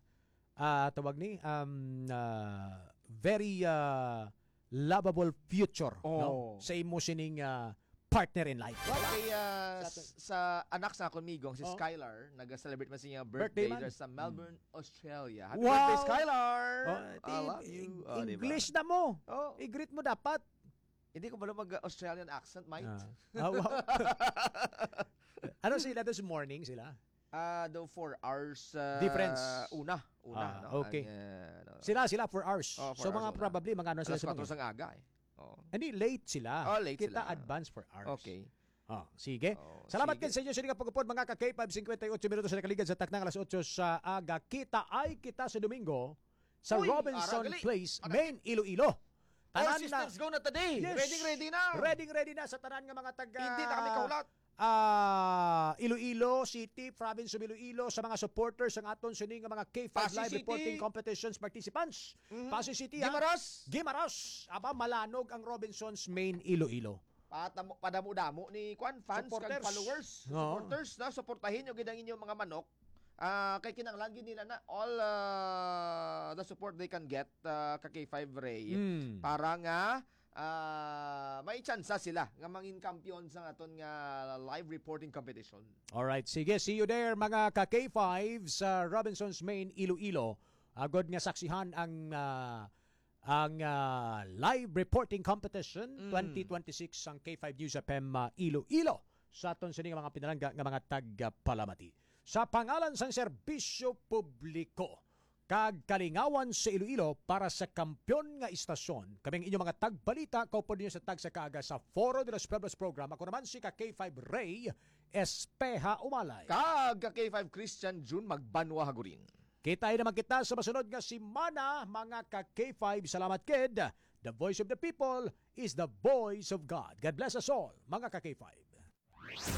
ah, tawag ni, um, ah, very, ah, lovable future, no? Oh. Sa imo sining, ah, partner in life. Well, kay, ah, Sa aton- s-, sa anak sa akon migong, si Oh. Skylar, nag-celebrate man siya Birthday birthday man. dito sa Melbourne, Mm. Australia. Happy Wow! birthday, Skylar! Oh, I ti-, love you. Eng-, Oh, di ba? English na mo. Oh. I-greet mo dapat. Hindi ko balo mag-Australian accent, mate. Ah. Ah, wow. Ano sila this morning sila? Ah, daw four hours, ah, Difference. una, una, Ah, no? okay. Ang, ah, no. Sila, sila four hours. Oh, four So, hours mga una. probably, mga ano sila Alas sa kwatro mga sang aga, eh. Oh. Hindi, late sila. Oh, late Kita sila. advance four hours. Okay. Oh, sige. Oh, Salamat sige. Ken sa inyo sa inyong pagupod, mga ka K five, fifty-eight minutos sa nakaligad sa taknang alas otso sa aga. Kita ay kita sa Domingo sa Uy, Robinson ara gali. Place, Ara- Main Iloilo. All Tanan na. systems go na today. Yes. Ready, ready na. Ready, ready na sa tanan nga mga taga Hindi na kami kahulat. ah, Iloilo City, Province of Iloilo, sa mga supporters ang aton sini nga mga K five Passi Live City. Reporting Competitions participants. Mhm. Passi City, ha? Guimaras. Guimaras. Aba, malanog ang Robinsons Main Iloilo. Patamo-, padamo-damo ni kwan, fans kag Supporters. followers, Oo. supporters na, suportahin nyo gid ang inyong mga manok. Ah, kay kinahanglan gid nila na all, ah, the support they can get, ah, ka K five Ray, Mm. para nga, ah, may tsansa sila nga mangin kampiyon sa aton nga live reporting competition. Alright, sige, see you there, mga ka K five sa Robinsons Main Iloilo. Agod nga saksihan ang, ah, ang, ah, live reporting competition Mm. twenty twenty-six sang K five News F M, ah, Iloilo sa aton sini nga mga pinalangga nga mga tagapalamati. Sa pangalan sang serbisyo publiko kag kalingawan sa Iloilo para sa kampiyon nga istasyon, kami ang inyong mga tagbalita, kaupod ninyo sa tagsa kaaga sa Foro de los Pueblos program. Ako naman si ka K five Ray Espeha Umalay. Kag ka K five Christian June Magbanwa Hagurin. Kita naman kita sa masunod nga semana, mga ka K five. Salamat, kid. The voice of the people is the voice of God. God bless us all, mga ka K five.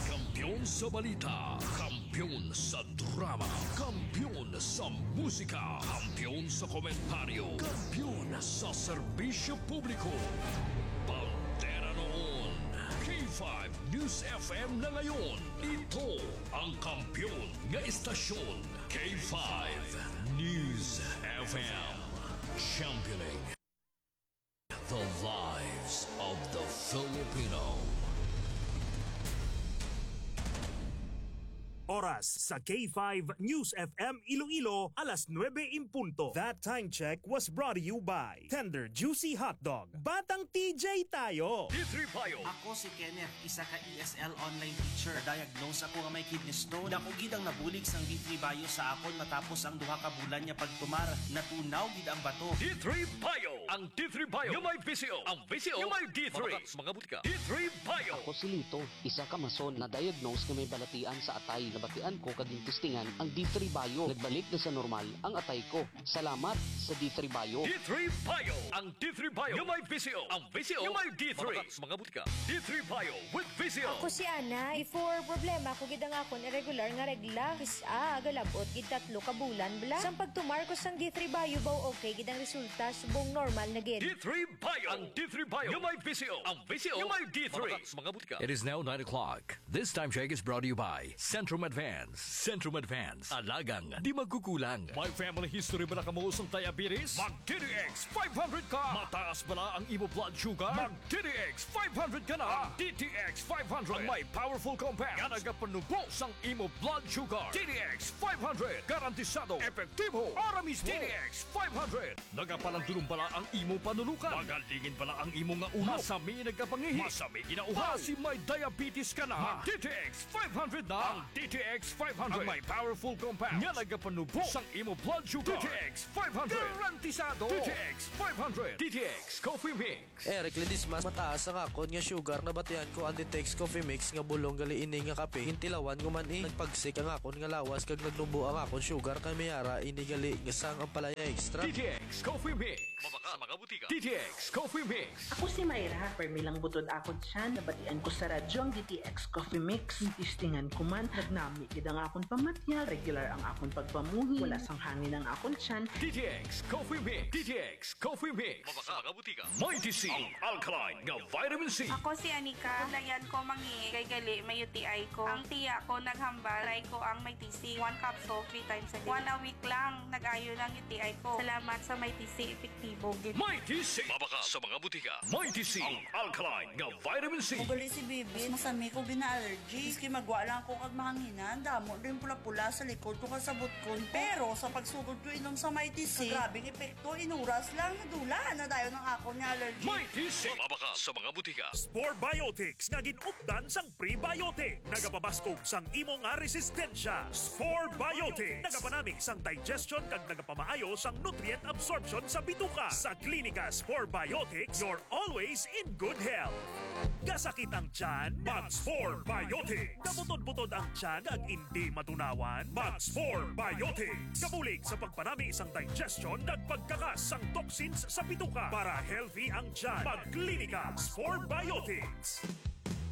Kampiyon sa balita, kampiyon sa drama, kampiyon sa musika, kampiyon sa komentaryo, kampiyon sa serbisyo publiko. Bandera noon, K five News F M na ngayon. Ito ang kampiyon nga istasyon, K five News F M. Championing the lives of the Filipino. Oras sa K five News F M Iloilo, alas nuebe in punto. That time check was brought to you by Tender Juicy Hotdog. Batang T J tayo! D three Bio. Ako si Kenneth, isa ka E S L online teacher. Na-diagnose ako nga may kidney stone. Dako gid ang nabulig sang D three Bio sa akon matapos ang duha ka bulan nga pagtumar. Natunaw gid ang bato. D three Bio. Ang D three Bio nga may V C O. Ang V C O nga may D three. Mabakal sa mga butika. D three Bio. Ako si Lito, isa ka mason na diagnose nga may balatian sa atay. Batian ko kag gintistingan ang D three Bio. Nagbalik na sa normal ang atay ko. Salamat sa D three Bio. D three Bio. Ang D three Bio nga may V C O. Ang V C O nga may D three. Mabakal sa mga butika. D three Bio with V C O. Ako si Ana. Before, problema ko gid ang akon irregular nga regla. Kis-a, galabot gid tatlo ka bulan bala. Sang pagtumar ko sang D three Bio, baw okay gid ang resulta, subong normal na gid. D three Bio. Ang D three Bio nga may V C O. Ang V C O nga may D three. Mabakal sa mga butika. It is now nine o'clock. This time check is brought to you by Centrum Advance. Centrum Advance. Alagang di magkukulang. May family history bala kamo sang diabetes? Mag D T X five hundred ka! Mataas bala ang imo blood sugar? Mag D T X five hundred ka na! Ang D T X five hundred ang may powerful compound nga nagapanubo sang imo blood sugar. D T X five hundred, garantisado, epektibo, ora mismo. D T X five hundred. Nagapalandulong bala ang imo panulukan? Magalingin bala ang imo nga ulo? Masami nagkapangihi? Masami ginauhaw? Basi may diabetes ka na? Mag D T X five hundred na! Ang D T X five hundred ang may powerful compound nga nagapanubo sang imo blood sugar. D T X five hundred. Garantisado! D T X five hundred. D T X Coffee Mix. Eric Ledesma, mataas ang akon nga sugar. Nabatian ko ang D T X Coffee Mix nga bulong gali ini nga kape. Gintilawan ko man, eh. Nagpagsik ang akon nga lawas kag nagnubo ang akon sugar, kay may ara ini gali nga sang ampalaya extra. D T X Coffee Mix. Mabakal sa mga butika. D T X Coffee Mix. Ako si Myra. Permi lang butod akon tiyan. Nabatian ko sa radyo ang D T X Coffee Mix. Gintistingan ko man. Nagnami gid ang akon pamatyag. Regular ang akon pagpamuhi. Wala sang hangin ang akon tiyan. D T X Coffee Mix. D T X Coffee Mix. Mabakal sa mga butika. Mighty C, ang alkaline nga vitamin C. Ako si Anika. Layan ko mangi kay gali may U T I ko. Ang tiya ko naghambal, try ko ang Mighty C. One capsule, three times a day. One a week lang, nag-ayo lang U T I ko. Salamat sa Mighty C, epektibo gid. Mighty C. Mabakal sa mga butika. Mighty C, ang alkaline nga vitamin C. Ugali si Bibi, masami ko gina-allergy. Maski magwa lang ako kag mahanginan, damo din pula-pula sa likod ko kag sa butkon ko. Pero sa pagsugod ko inom sa Mighty C, grabing epekto, inuras lang, nadula na dayon ang akon nga allergy. Mighty C. Mabakal sa mga butika. Spore Biotics nga gin-updan sang prebiotic. Nagapabaskog sang imo nga resistensya. Spore Biotics. Nagapanami sang digestion kag nagapamaayo sang nutrient absorption sa bituka. Sa Klinika Spore Biotics, you're always in good health. Kasakit ang tiyan? Mag Spore Biotics. Kabutod-butod ang tiyan kag indi matunawan? Mag Spore Biotics. Kabulig sa pagpanami sang digestion kag pagkakas sang toxins sa bituka. Para healthy ang tiyan, mag Klinika Spore Biotics.